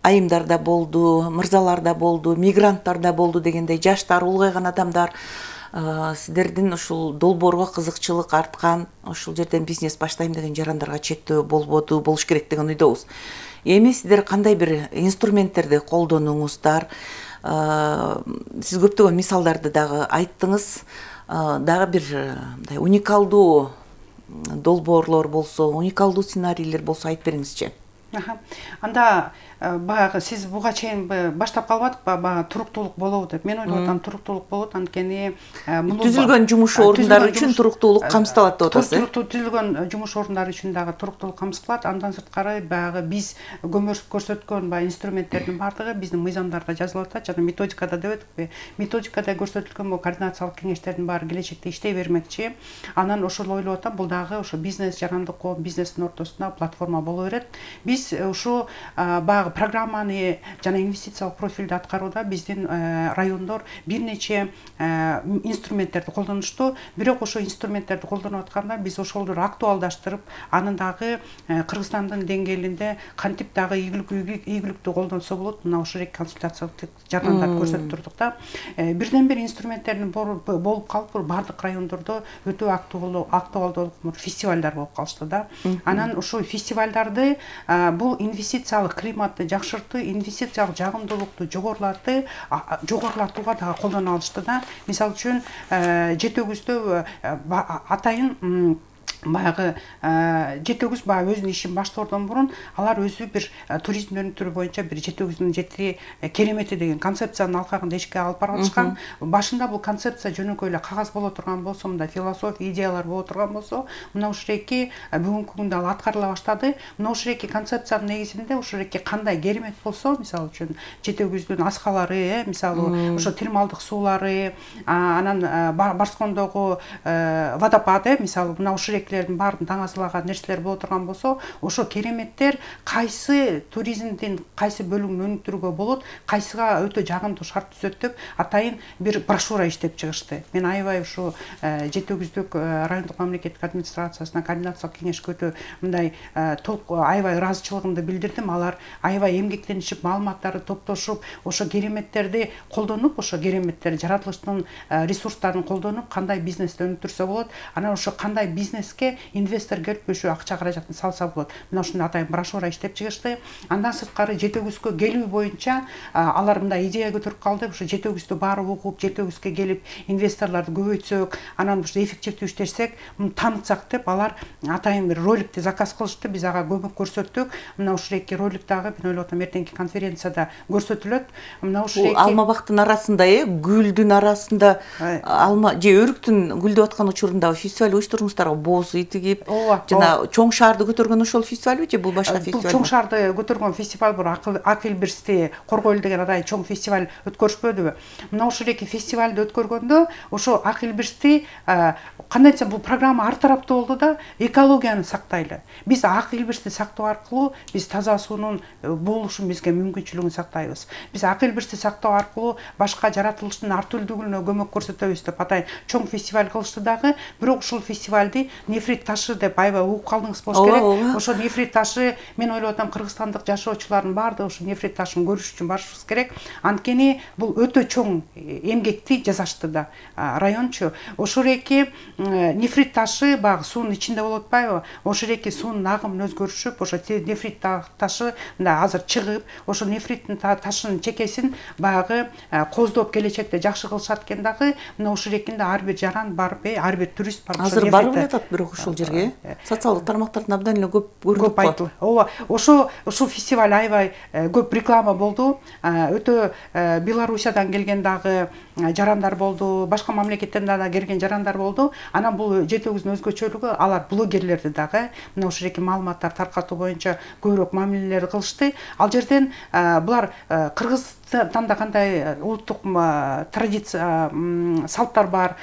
айымдар да болду, мырзалар да болду, мигранттар да болду дегендей, жаштар, улгайган адамдар. Сиздердин ушул долбоорго кызыкчылык арткан, ушул жерден бизнес баштайм деген жарандарга чектөө болуш керек деген ойдобуз. Эми сиздер кандай бир инструменттерди колдонуңуздар? Сиз көптөгөн мисалдарды дагы айттыңыз. Дагы бир мындай уникалдуу долбоорлор болсо, уникалдуу сценарийлер болсо айтып бериңизчи. Анда баягы сиз буга чейин баштап калбадыкпы, баягы туруктуулук болобу деп. Мен ойлоп атам, туруктуулук болот, анткени түзүлгөн жумуш орундары үчүн туруктуулук камсыталат деп атасыз. Түзүлгөн жумуш орундары үчүн дагы туруктуулук камсыталат. Андан сырткары баягы биз көрсөткөн баягы инструменттердин бардыгы биздин мыйзамдарда жазылып атат жана методикада деп өттүкпү. Методикада көрсөтүлгөн бул координациялык кеңештердин баары келечекте иштей бермекчи. Анан ошол ойлоп атам, бул дагы ошо бизнес, жарандык коом, бизнестин ортосунда платформа боло берет. Биз ушу баягы программаны жана инвестициялык профилди аткарууда биздин райондор бир нече инструменттерди колдонушту. Бирок ошо инструменттерди колдонуп атканда биз ошолорду актуалдаштырып, анын дагы Кыргызстандын деңгээлинде кантип дагы ийгиликтүү колдонсо болот, мына ошол консультациялык жардамдарды көрсөтүп турдук да. Бирден бир инструменттердин болуп калып, бардык райондордо өтө актуалдуу фестивалдар болуп калышты да. Анан ошол фестивалдарды бул инвестициялык климатты жакшыртуу, инвестициялык жагымдуулукту жогорулатууга дагы колдоно алышты да. Мисалы үчүн Жетөгүздө атайын баягы Жетөгүз баягы өзүнүн ишин баштоодон мурун алар өзү бир туризмди өнүктүрүү боюнча бир Жетөгүздүн жетири керемети деген концепциянын алкагында ишке алып барышкан. Башында бул концепция жөнөкөй эле кагаз боло турган болсо, мындай философия, идеялар боло турган болсо, мына ушул эки бүгүнкү күндө ал аткарыла баштады. Мына ушул эки концепциянын негизинде ушул эки кандай керемет болсо, мисалы үчүн Жетөгүздүн аскалары, мисалы ошо термалдык суулары, анан Барскондогу водопады, мисалы мына ушул баарын таңазылаган нерселер боло турган болсо, ошо кереметтер кайсы туризмдин кайсы бөлүгүн өнүктүрүүгө болот, кайсыга өтө жагымдуу шарт түзөт деп атайын бир брошюра иштеп чыгышты. Мен аябай ушу Жетөгүздүк райондук мамлекеттик администрациясына координациялык кеңешке өтө мындай аябай ыраазычылыгымды билдирдим. Алар аябай эмгектенишип, маалыматтарды топтошуп, ошо кереметтерди колдонуп, ошо кереметтер жаратылыштын ресурстарын колдонуп, кандай бизнести өнүктүрсө болот, анан ошо кандай бизнеске инвестор келип ошо акча каражатын салса болот. Мына ушундай атайын брошюра иштеп чыгышты. Андан сырткары Жетөгүзгө келүү боюнча алар мындай идея көтөрүп калды. Ошо Жетөгүздү баары угуп, Жетөгүзгө келип инвесторлорду көбөйтсөк, анан ушул эффективдүү иштесек, таанытсак деп алар атайын бир роликти заказ кылышты. Биз ага көмөк көрсөттүк. Мына ушул эки ролик дагы мен ойлоп атам эртеңки конференцияда көрсөтүлөт. Мына ушул эки алма бактын арасында, гүлдүн арасында алма же өрүктүн гүлдөп аткан учурунда фестиваль уюштуруңуздарбы? Боз тигип, жана чоң шаарды көтөргөн ошол фестивалбы же бул башка фестиваль? Бул чоң шаарды көтөргөн фестиваль, бул Ак Элбирсти Коргойл деген атайын чоң фестиваль өткөрүшпөдүбү? Мына ушул эки фестивалды өткөргөндө ошо Ак Элбирсти кандай десем, бул программа ар тараптуу болду да, экологияны сактайлы. Биз Ак Элбирсти сактоо аркылуу биз таза суунун болушун бизге мүмкүнчүлүгүн сактайбыз. Биз Ак Элбирсти сактоо аркылуу башка жаратылыштын ар түрдүүлүгүнө көмөк көрсөтөбүз деп атайын чоң фестиваль кылышты дагы. Бирок ушул фестивалды нефрит ташы деп аябай угуп калдыңыз болуш керек. Ошо нефрит ташы, мен ойлоп атам, кыргызстандык жашоочулардын баардыгы ошо нефрит ташын көрүш үчүн барышыбыз керек. Анткени бул өтө чоң эмгекти жасашты да райончу. Ошол эки нефрит ташы баягы суунун ичинде болуп атпайбы? Ошол эки суунун агымын өзгөрүшүп, ошо нефрит ташы мындай азыр чыгып, ошо нефриттин ташынын чекесин баягы коздоп келечекте жакшы кылышат экен дагы. Мына ошол экинде ар бир жаран барып, ар бир турист барып азыр барып атат, бирок ушул жерге социалдык тармактарда абдан эле көп көрүнүп айтылды. Ооба, ошол фестиваль аябай көп реклама болду. Өтө Белоруссиядан келген дагы жарандар болду, башка мамлекеттен да келген жарандар болду. Анан бул жетөөгүздүн өзгөчөлүгү, алар блогерлерди дагы мына ошол эки маалыматтар таркатуу боюнча көбүрөөк мамилелер кылышты. Ал жерден булар Кыргызстанда кандай улуттук традиция, салттар бар,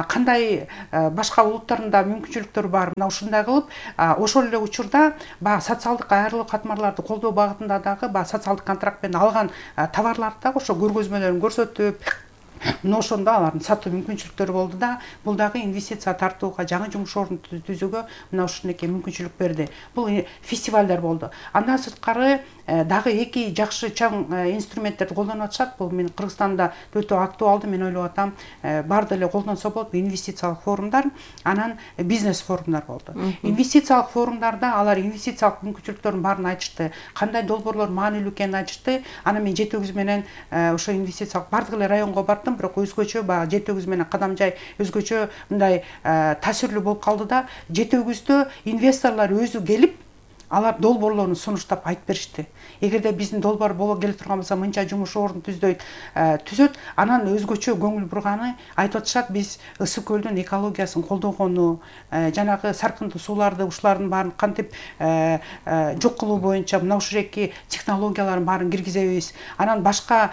кандай башка улуттардын да мүмкүнчүлүктөрү бар. Мына ушундай кылып, ошол эле учурда баягы социалдык айрылуу катмарларды колдоо багытында дагы баягы социалдык контракт менен алган товарларды дагы ошо көргөзмөлөрүн көрсөтүп, мына ошондо алардын сатуу мүмкүнчүлүктөрү болду да, бул дагы инвестиция тартууга, жаңы жумуш ордун түзүүгө мына ушундай мүмкүнчүлүк берди. Бул фестивалдар болду. Андан сырткары дагы эки жакшы чоң инструменттерди колдонуп атышат. Бул мен Кыргызстанда өтө актуалдуу, мен ойлоп атам, баарды эле колдонсо болот. Инвестициялык форумдар, анан бизнес форумдар болду. Инвестициялык форумдарда алар инвестициялык мүмкүнчүлүктөрдүн баарын айтышты, кандай долбоорлор маанилүү экенин айтышты. Анан мен жетөөгүз менен ошо инвестициялык баардык эле районго бардым, бирок өзгөчө баягы жетөөгүз менен Кадамжай өзгөчө мындай таасирлүү болуп калды да. Жетөөгүздө инвесторлор өзү келип, алар долбоорлорун сунуштап айтып беришти. Эгерде биздин долбоор боло келе турган болсо, мынча жумуш ордун түзөт, анан өзгөчө көңүл бурганы айтып атышат, биз Ысык көлдүн экологиясын колдогону, жанагы саркындуу сууларды, ушулардын баарын кантип жок кылуу боюнча мына ушул эки технологиялардын баарын киргизебиз. Анан башка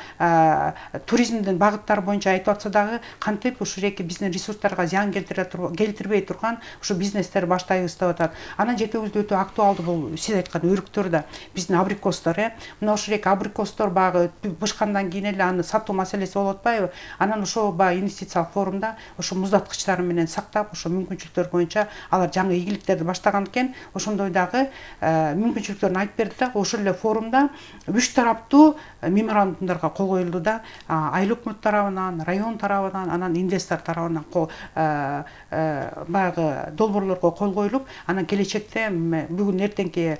туризмдин багыттары боюнча айтып атса дагы, кантип ушул эки биздин ресурстарга зыян келтирбей турган ушу бизнестер баштайбыз деп атат. Анан жетөөгүздө өтө актуалдуу бул сиз айткан өрүктөр да, биздин абрикостор, мына ошол эки абрикостор багы бышкандан кийин эле аны сатуу маселеси болуп атпайбы? Анан ошол баягы инвестициялык форумда ошо муздаткычтары менен сактап, ошо мүмкүнчүлүктөр боюнча алар жаңы ийгиликтерди баштаган экен. Ошондой дагы мүмкүнчүлүктөрүн айтып берди да. Ошол эле форумда 3 тараптуу меморандумдарга кол коюлду да. Айыл өкмөт тарабынан, район тарабынан, анан инвестор тарабынан баягы долбоорлорго кол коюлуп, анан келечекте бүгүн эртеңки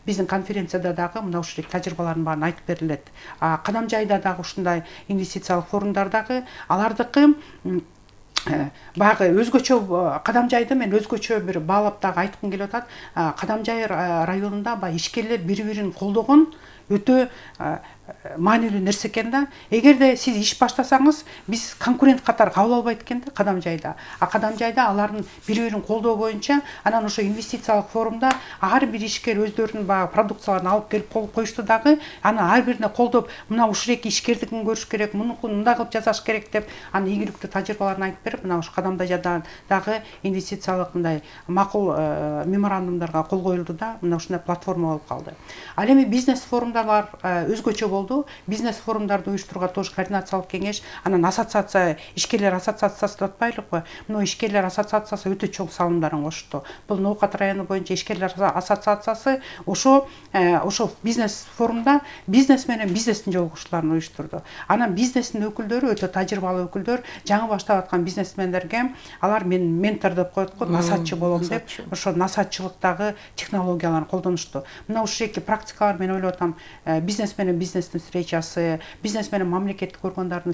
биздин конференцияда дагы мына ушул тажрыйбалардын баарын айтып берилет. Кадамжайда дагы ушундай инвестициялык форумдар дагы алардыкы баягы өзгөчө, Кадамжайды мен өзгөчө бир баалап дагы айткым келип атат. Кадамжай районунда баягы ишкерлер бири-бирин колдогон өтө маанилүү нерсе экен да. Эгерде сиз иш баштасаңыз, биз конкурент катары кабыл албайт экен да Кадамжайда. Кадамжайда алардын бири-бирин колдоо боюнча, анан ошо инвестициялык форумда ар бир ишкер өздөрүнүн баягы продукцияларын алып келип коюшту дагы. Аны ар бирине колдоп, мына ушул эки ишкердикин көрүш керек, мунукун мындай кылып жасаш керек деп, аны ийгиликтүү тажрыйбаларын айтып берип, мына ушу Кадамжайда дагы инвестициялык мындай макул меморандумдарга кол коюлду да. Мына ушундай платформа болуп калды. Ал эми бизнес форумдарлар өзгөчө болду. Бизнес форумдарды уюштурууга тоже координациялык кеңеш, анан ассоциация, ишкерлер ассоциациясы деп атпайлыкпы? Мына ишкерлер ассоциациясы өтө чоң салымдарын кошту. Бул Ноокат району боюнча ишкерлер ассоциациясы ошо бизнес форумда бизнес менен бизнестин жолугушууларын уюштурду. Анан бизнестин өкүлдөрү өтө тажрыйбалуу өкүлдөр, жаңы баштап аткан бизнесмендерге алар мен ментор деп коет го, насаатчы болом деп, ошо насаатчылыктагы технологияларын колдонушту. Мына ушул эки практикалар, мен ойлоп атам, бизнес менен бизнестин встречасы, бизнес менен мамлекеттик органдардын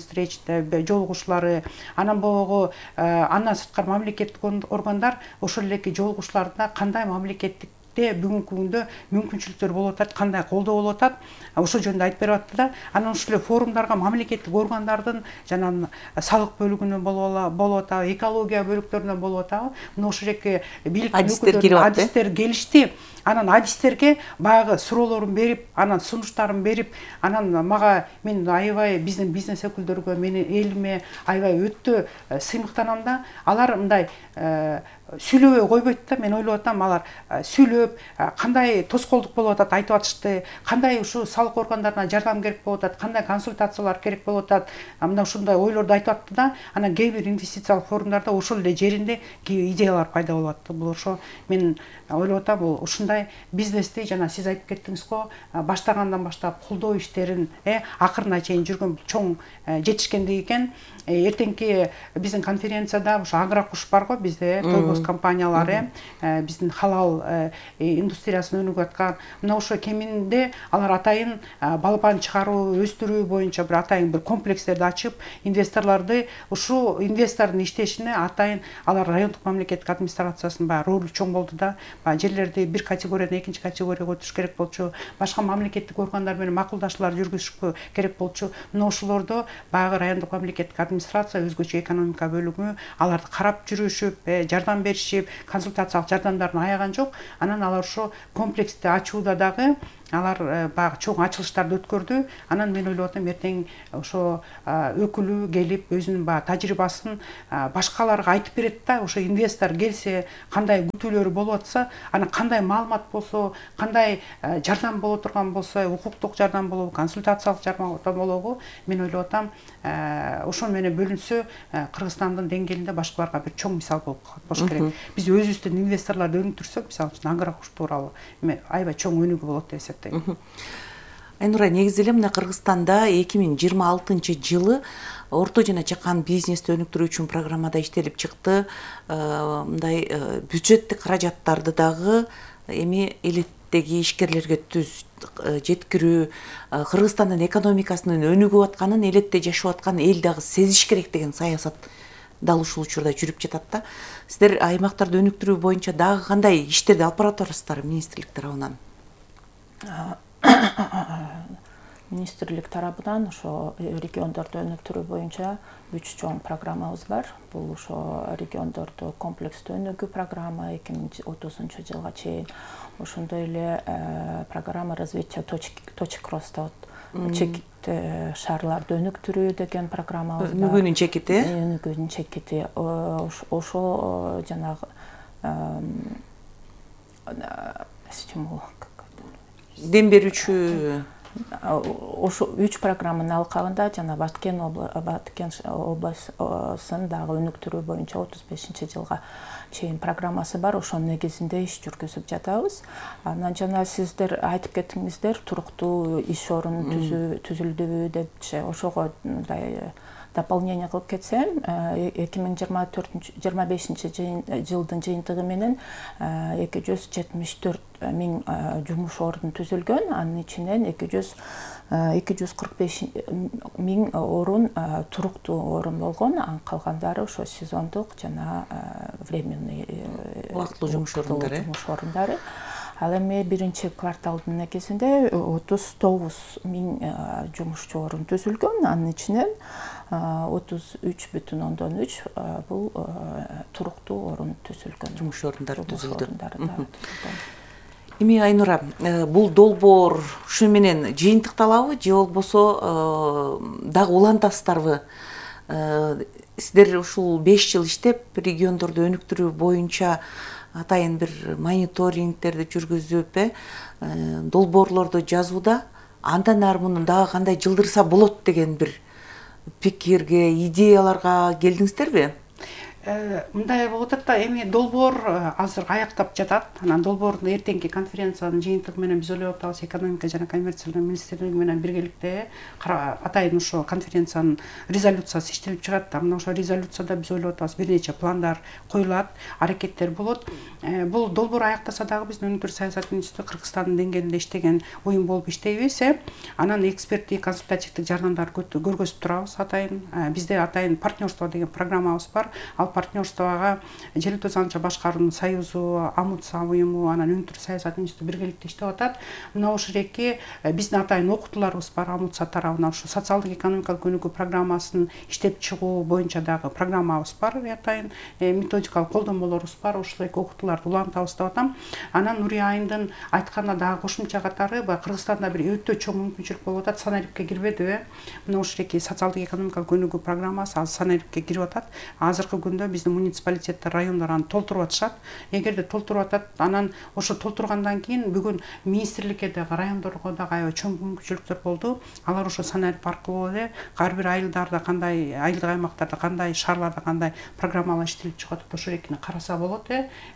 жолугушуулары, анан богу андан сырткары мамлекеттик органдар ошол эле жолугушууларда кандай мамлекеттикте бүгүнкү күндө мүмкүнчүлүктөр болуп атат, кандай колдоо болуп атат, ошол жөнүндө айтып берип атты да. Анан ушул эле форумдарга мамлекеттик органдардын жана салык бөлүгүнөн болуп атабы, экология бөлүктөрүнөн болуп атабы, мына ошол эки бийликтин өкүлдөрү, адистер келишти. Анан адистерге баягы суроолорун берип, анан сунуштарын берип, анан мага мен аябай биздин бизнес өкүлдөргө, менин элиме аябай өтө сыймыктанам да. Алар мындай сүйлөбөй койбойт да. Мен ойлоп атам, алар сүйлөп кандай тоскоолдук болуп атат айтып атышты, кандай ушул салык органдарына жардам керек болуп атат, кандай консультациялар керек болуп атат, мына ушундай ойлорду айтып атты да. Анан кээ бир инвестициялык форумдарда ошол эле жеринде идеялар пайда болуп атты. Бул ошо мен ойлоп атам, бул ушундай бизнести жана сиз айтып кеттиңиз го, баштагандан баштап колдоо иштерин акырына чейин жүргөн чоң жетишкендик экен. Эртеңки биздин конференцияда ушу Агрокуш бар го бизде, Тойгоз компаниялары, биздин халал индустриясын өнүгүп аткан. Мына ошо кеминде алар атайын балапан чыгаруу, өстүрүү боюнча бир атайын бир комплекстерди ачып, инвесторлорду ушул инвестордун иштешине атайын алар райондук мамлекеттик администрациясынын баягы ролу чоң болду да. Жерлерди бир категориядан экинчи категорияга өтүш керек болчу, башка мамлекеттик органдар менен макулдашуулар жүргүзүш керек болчу. Мына ошолордо баягы райондук мамлекеттик администрация, өзгөчө экономика бөлүмү аларды карап жүрүшүп, жардам беришип, консультациялык жардамдарын аяган жок. Анан алар ошо комплексти ачууда дагы алар баягы чоң ачылыштарды өткөрдү. Анан мен ойлоп атам, эртең ошо өкүлү келип өзүнүн баягы тажрыйбасын башкаларга айтып берет да. Ошо инвестор келсе, кандай күтүүлөрү болуп атса, анан кандай маалымат болсо, кандай жардам боло турган болсо, укуктук жардам болобу, консультациялык жардам болобу, мен ойлоп атам, ошо менен бөлүнсө Кыргызстандын деңгээлинде башкаларга бир чоң мисал болуш керек. Биз өзүбүздүн инвесторлорду өнүктүрсөк, мисалы үчүн Агрокуш тууралуу аябай чоң өнүгүү болот деп эсептейм. Айнура, негизи эле мына Кыргызстанда 2026-жылы орто жана чакан бизнести өнүктүрүү үчүн программада иштелип чыкты. Мындай бюджеттик каражаттарды дагы эми элеттеги ишкерлерге жеткирүү, Кыргызстандын экономикасынын өнүгүп атканын, элетте жашап аткан эл дагы сезиш керек деген саясат дал ушул учурда жүрүп жатат да. Сиздер аймактарды өнүктүрүү боюнча дагы кандай иштерди алып баратасыздар министрлик тарабынан? Министрлик тарабынан ошо региондорду өнүктүрүү боюнча 3 чоң программабыз бар. Бул ошо региондорду комплекстүү өнүгүү программа 2030 жылга чейин, ошондой эле программа развития точек роста, чекит шаарларды өнүктүрүү деген программабыз бар. Өнүгүүнүн чекити? Өнүгүүнүн чекити. Ошо жанагы дем берүүчү ошо 3 программанын алкагында жана Баткен областын дагы өнүктүрүү боюнча 35-жылга чейин программасы бар. Ошонун негизинде иш жүргүзүп жатабыз. Анан жана сиздер айтып кеттиңиздер, туруктуу иш орун түзүлдүбү депчи. Ошого мындай дополнение кылып кетсем, 2025 жылдын жыйынтыгы менен 274 миң жумуш орун түзүлгөн. Анын ичинен 245 миң орун туруктуу орун болгон. Калгандары ошо сезондук жана временный убактылуу жумуш орундары. Ал эми биринчи кварталдын негизинде 39 миң жумушчу орун түзүлгөн. Анын ичинен 33,3 бул туруктуу орун түзүлгөн. Жумуш орундары түзүлдү. Эми Айнура, бул долбоор ушу менен жыйынтыкталабы же болбосо дагы улантасыздарбы? Сиздер ушул 5 жыл иштеп, региондорду өнүктүрүү боюнча атайын бир мониторингтерди жүргүзүп, долбоорлорду жазууда андан ары муну дагы кандай жылдырса болот деген бир пикирге, идеяларга келдиңиздерби? Мындай болуп атат да, эми долбоор азыр аяктап жатат. Анан долбоордун эртеңки конференциянын жыйынтыгы менен биз ойлоп атабыз, экономика жана коммерциялык министрлиги менен биргеликте атайын ошо конференциянын резолюциясы иштелип чыгат. Мына ошо резолюцияда биз ойлоп атабыз, бир нече пландар коюлат, аракеттер болот. Бул долбоор аяктаса дагы биздин өнүктүрүү саясат институту Кыргызстандын деңгээлинде иштеген уюм болуп иштейбиз. Анан эксперттик консультативдик жардамдарды көргөзүп турабыз атайын. Бизде атайын партнерство деген программабыз бар. Ал партнерствого Желектөө Занча башкаруунун союзу, АМУЦА уюму, анан өнүктүрүү саясат институту биргеликте иштеп атат. Мына ошол эки биздин атайын окутууларыбыз бар. АМУЦА тарабынан ушу социалдык экономикалык өнүгүү программасын иштеп чыгуу боюнча дагы программабыз бар. Атайын методикалык колдонмолорубуз бар. Ошол эки окутууларды улантабыз деп атам. Анан Нурия Айымдын айтканына дагы кошумча катары, Кыргызстанда бир өтө чоң мүмкүнчүлүк болуп атат. Санариптке кирбедиби? Мына ошол эки социалдык экономикалык өнүгүү программасы азыр санариптке кирип атат. Азыркы күндө көргөндө биздин муниципалитеттер, райондор аны толтуруп атышат. Эгерде толтуруп атат, анан ошо толтургандан кийин бүгүн министрликке дагы, райондорго дагы аябай чоң мүмкүнчүлүктөр болду. Алар ошо санарип аркылуу эле ар бир айылдарда кандай, айылдык аймактарда кандай, шаарларда кандай программалар иштелип чыгып атат, ошо экини караса болот.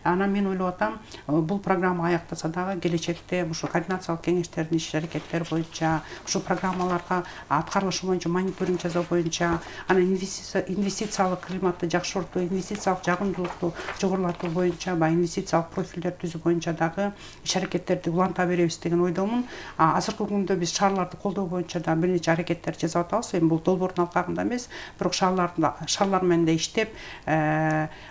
Анан мен ойлоп атам, бул программа аяктаса дагы келечекте ошо координациялык кеңештердин иш аракеттери боюнча, ошо программаларга аткарылышы боюнча мониторинг жасоо боюнча, анан инвестициялык климатты жакшыртуу, инвестициялык жагымдуулукту жогорулатуу боюнча, баягы инвестициялык профилдерди түзүү боюнча дагы иш аракеттерди уланта беребиз деген ойдомун. Азыркы күндө биз шаарларды колдоо боюнча да бир нече аракеттер жасап атабыз. Эми бул долбоордун алкагында эмес, бирок шаарлар менен да иштеп,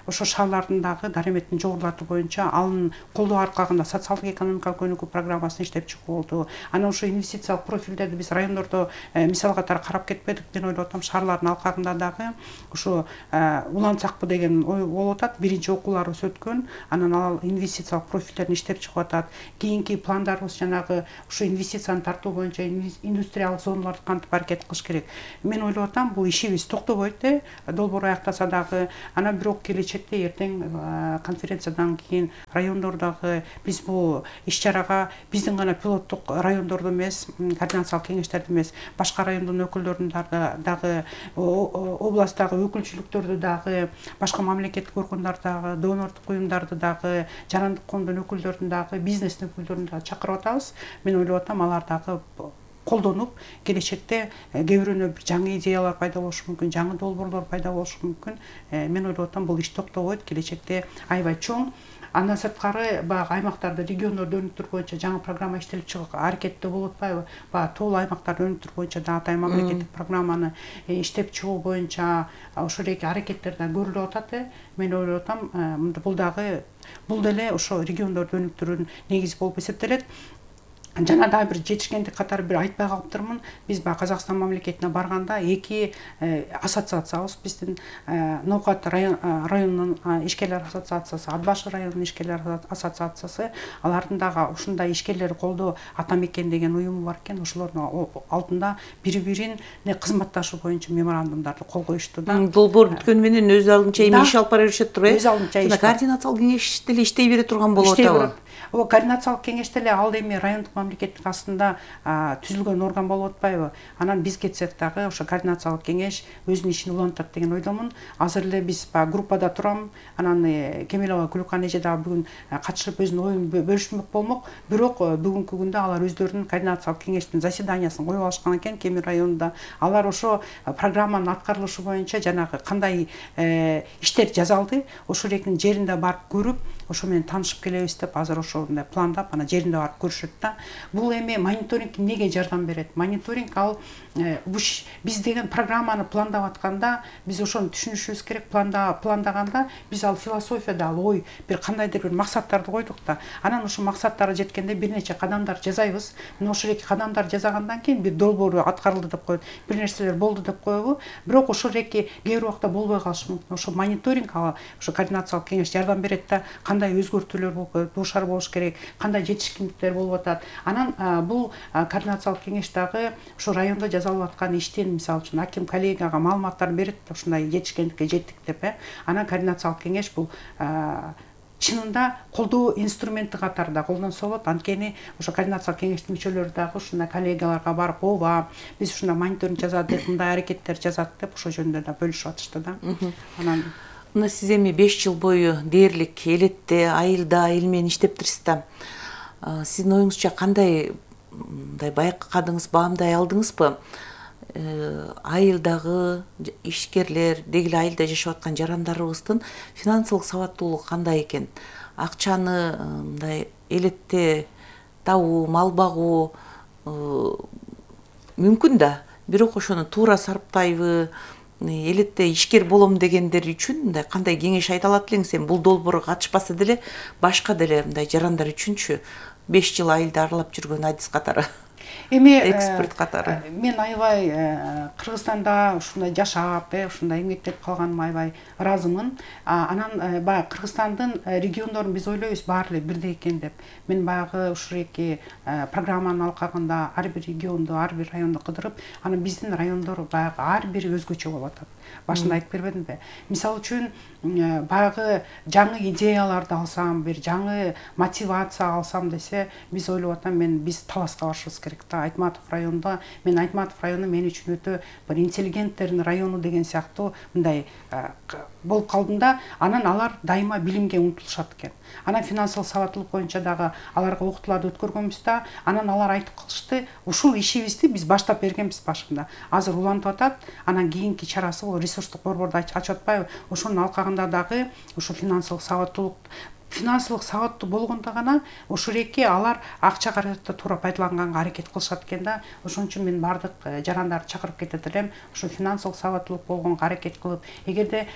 ошо шаарлардын дагы дараметин жогорулатуу боюнча анын колдоо аркагында социалдык экономикалык өнүгүү программасын иштеп чыгуу болду. Анан ошо инвестициялык профилдерди биз райондордо мисал катары карап кетпедик. Мен ойлоп атам, шаарлардын алкагында дагы ошо улантсакпы деген ой болуп атат. Биринчи окууларыбыз өткөн, анан ал инвестициялык профилдерин иштеп чыгып атат. Кийинки пландарыбыз жанагы ошо инвестицияны тартуу боюнча индустриялык зоналарды кантип аракет кылыш керек. Мен ойлоп атам, бул ишибиз токтобойт, долбоор аяктаса дагы. Анан бирок келечекте эртең конференциядан кийин райондордогу биз бул иш-чарага биздин гана пилоттук райондордо эмес, координациялык кеңештерде эмес, башка райондун өкүлдөрүн дагы, областтагы өкүлчүлүктөрдү дагы, башка мамлекеттик органдардагы, донордук уюмдарды дагы, жарандык коомдун өкүлдөрүн дагы, бизнестин өкүлдөрүн дагы чакырып атабыз. Мен ойлоп атам, алар дагы колдонуп, келечекте кээ бирөөнө бир жаңы идеялар пайда болушу мүмкүн, жаңы долбоорлор пайда болушу мүмкүн. Мен ойлоп атам, бул иш токтобойт, келечекте аябай чоң. Андан сырткары баягы аймактарда, региондордо өнүктүрүү боюнча жаңы программа иштелип чыгып аракетте болуп атпайбы? Баягы тоолуу аймактарды өнүктүрүү боюнча дагы атайын мамлекеттик программаны иштеп чыгуу боюнча ошол эки аракеттер да көрүлүп атат. Мен ойлоп атам, бул деле ошо региондорду өнүктүрүүнүн негизи болуп эсептелет. Жана дагы бир жетишкендик катары бир айтпай калыптырмын. Биз баягы Казакстан мамлекетине барганда эки ассоциациябыз, биздин Ноокат районунун ишкерлер ассоциациясы, Ат Башы районунун ишкерлер ассоциациясы, алардын дагы ушундай ишкерлерди колдоо Ата Мекен деген уюму бар экен. Ошолордун алдында бири-бирине кызматташуу боюнча меморандумдарды кол коюшту да. Долбоор бүткөнү менен өз алдынча эми иш алып бара беришет туруп, Өз алдынча иш. Координациялык кеңеш деле иштей бере турган болот атабы? Координациялык кеңеште эле ал эми райондук мамлекеттик астында түзүлгөн орган болуп атпайбы? Анан биз кетсек дагы ошо координациялык кеңеш өзүнүн ишин улантат деген ойдомун. Азыр эле биз группада турам. Анан Кемелова Күлүкан эже дагы бүгүн катышып өзүнүн оюн бөлүшмөк болмок. Бирок бүгүнкү күндө алар өздөрүнүн координациялык кеңештин заседаниясын коюп алышкан экен Кемир районунда. Алар ошо программанын аткарылышы боюнча жанагы кандай иштер жасалды, ошол экинин жеринде барып көрүп, ошо менен таанышып келебиз деп азыр ошондой пландап, анан жеринде барып көрүшөт да. Бул эми мониторинг эмнеге жардам берет? Мониторинг ал биз деген программаны пландап атканда биз ошону түшүнүшүбүз керек. Пландаганда биз ал философияда ал ой бир кандайдыр бир максаттарды койдук да. Анан ошо максаттарга жеткенде бир нече кадамдар жасайбыз. Мына ошол эки кадамдар жасагандан кийин бир долбоор аткарылды деп коет, бир нерселер болду деп коебу. Бирок ошол эки кээ бир убакта болбой калышы мүмкүн. Ошо мониторинг, ошо координациялык кеңеш жардам берет да. Кандай өзгөртүүлөр дуушар болуш керек, кандай жетишкендиктер болуп атат. Анан бул координациялык кеңеш дагы ошо райондо жасалып аткан иштин, мисалы үчүн аким коллегага маалыматтар берет, ушундай жетишкендикке жеттик деп. Анан координациялык кеңеш бул чынында колдоо инструменти катарында колдонсо болот. Анткени ошо координациялык кеңештин мүчөлөрү дагы ушундай коллегаларга барып, ооба, биз ушундай мониторинг жасадык, мындай аракеттер жасадык деп ошол жөнүндө да бөлүшүп атышты да. Анан мына сиз эми 5 жыл бою дээрлик элетте, айылда, эл менен иштептирсиз да. Сиздин оюңузча кандай байкадыңыз, баамдай алдыңызбы? Айылдагы ишкерлер, деги эле айылда жашап аткан жарандарыбыздын финансылык сабаттуулугу кандай экен? Акчаны мындай элетте табуу, мал багуу мүмкүн да, бирок ошону туура сарптайбы? Элетте ишкер болом дегендер үчүн мындай кандай кеңеш айта алат элеңиз? Эми бул долбоорго катышпаса деле башка деле мындай жарандар үчүнчү 5 жыл айылда аралап жүргөн адис катары. эми эксперт катары. Мен аябай Кыргызстанда ушундай жашап, ушундай эмгектеп калганыма аябай ыраазымын. Анан баягы Кыргызстандын региондорун биз ойлойбуз баары эле бирдей экен деп. Мен баягы ушул эки программанын алкагында ар бир регионду, ар бир районду кыдырып, анан биздин райондор баягы ар бири өзгөчө болуп атат. Башында айтып бербедимби? Мисалы үчүн баягы жаңы идеяларды алсам, бир жаңы мотивация алсам десе, биз ойлоп атам, биз Таласка барышыбыз керек да. Айтматов районунда, мен Айтматов району мен үчүн өтө бир интеллигенттердин району деген сыяктуу мындай болуп калдым да. Анан алар дайыма билимге умтулушат экен. Анан финансылык сабаттуулук боюнча дагы аларга окутууларды өткөргөнбүз да. Анан алар айтып калышты, ушул ишибизди биз баштап бергенбиз башында. Азыр улантып атат. Анан кийинки чарасы бул ресурстук борборду ачып атпайбы? Ошонун алкагында дагы ушу финансылык сабаттуу болгондо гана ушул эки алар акча каражатты туура пайдаланганга аракет кылышат экен да. Ошон үчүн мен бардык жарандарды чакырып кетет элем. Ушу финансылык сабаттуулук болгонго аракет кылып, эгерде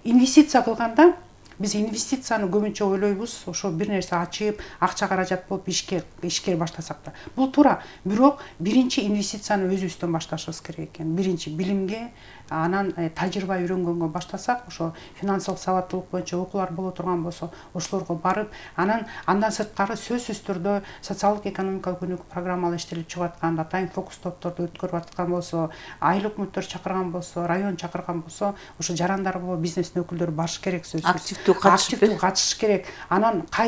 инвестиция кылганда биз инвестицияны көбүнчө ойлойбуз, ошо бир нерсе ачып, акча каражат болуп ишкер баштасак да. Бул туура. Бирок биринчи инвестицияны өзүбүздөн башташыбыз керек экен. Биринчи билимге, анан тажрыйба үйрөнгөнгө баштасак, ошо финансылык сабаттуулук боюнча окуулар боло турган болсо, ошолорго барып, андан сырткары сөзсүз түрдө социалдык экономикалык өнүгүү программалар иштелип чыгып аткан, атайын фокус топторду өткөрүп аткан болсо, айыл өкмөттөр чакырган болсо, район чакырган болсо, ошо жарандар болобу, бизнестин өкүлдөрү барыш керек сөзсүз. Активдүү катышыш керек. Анан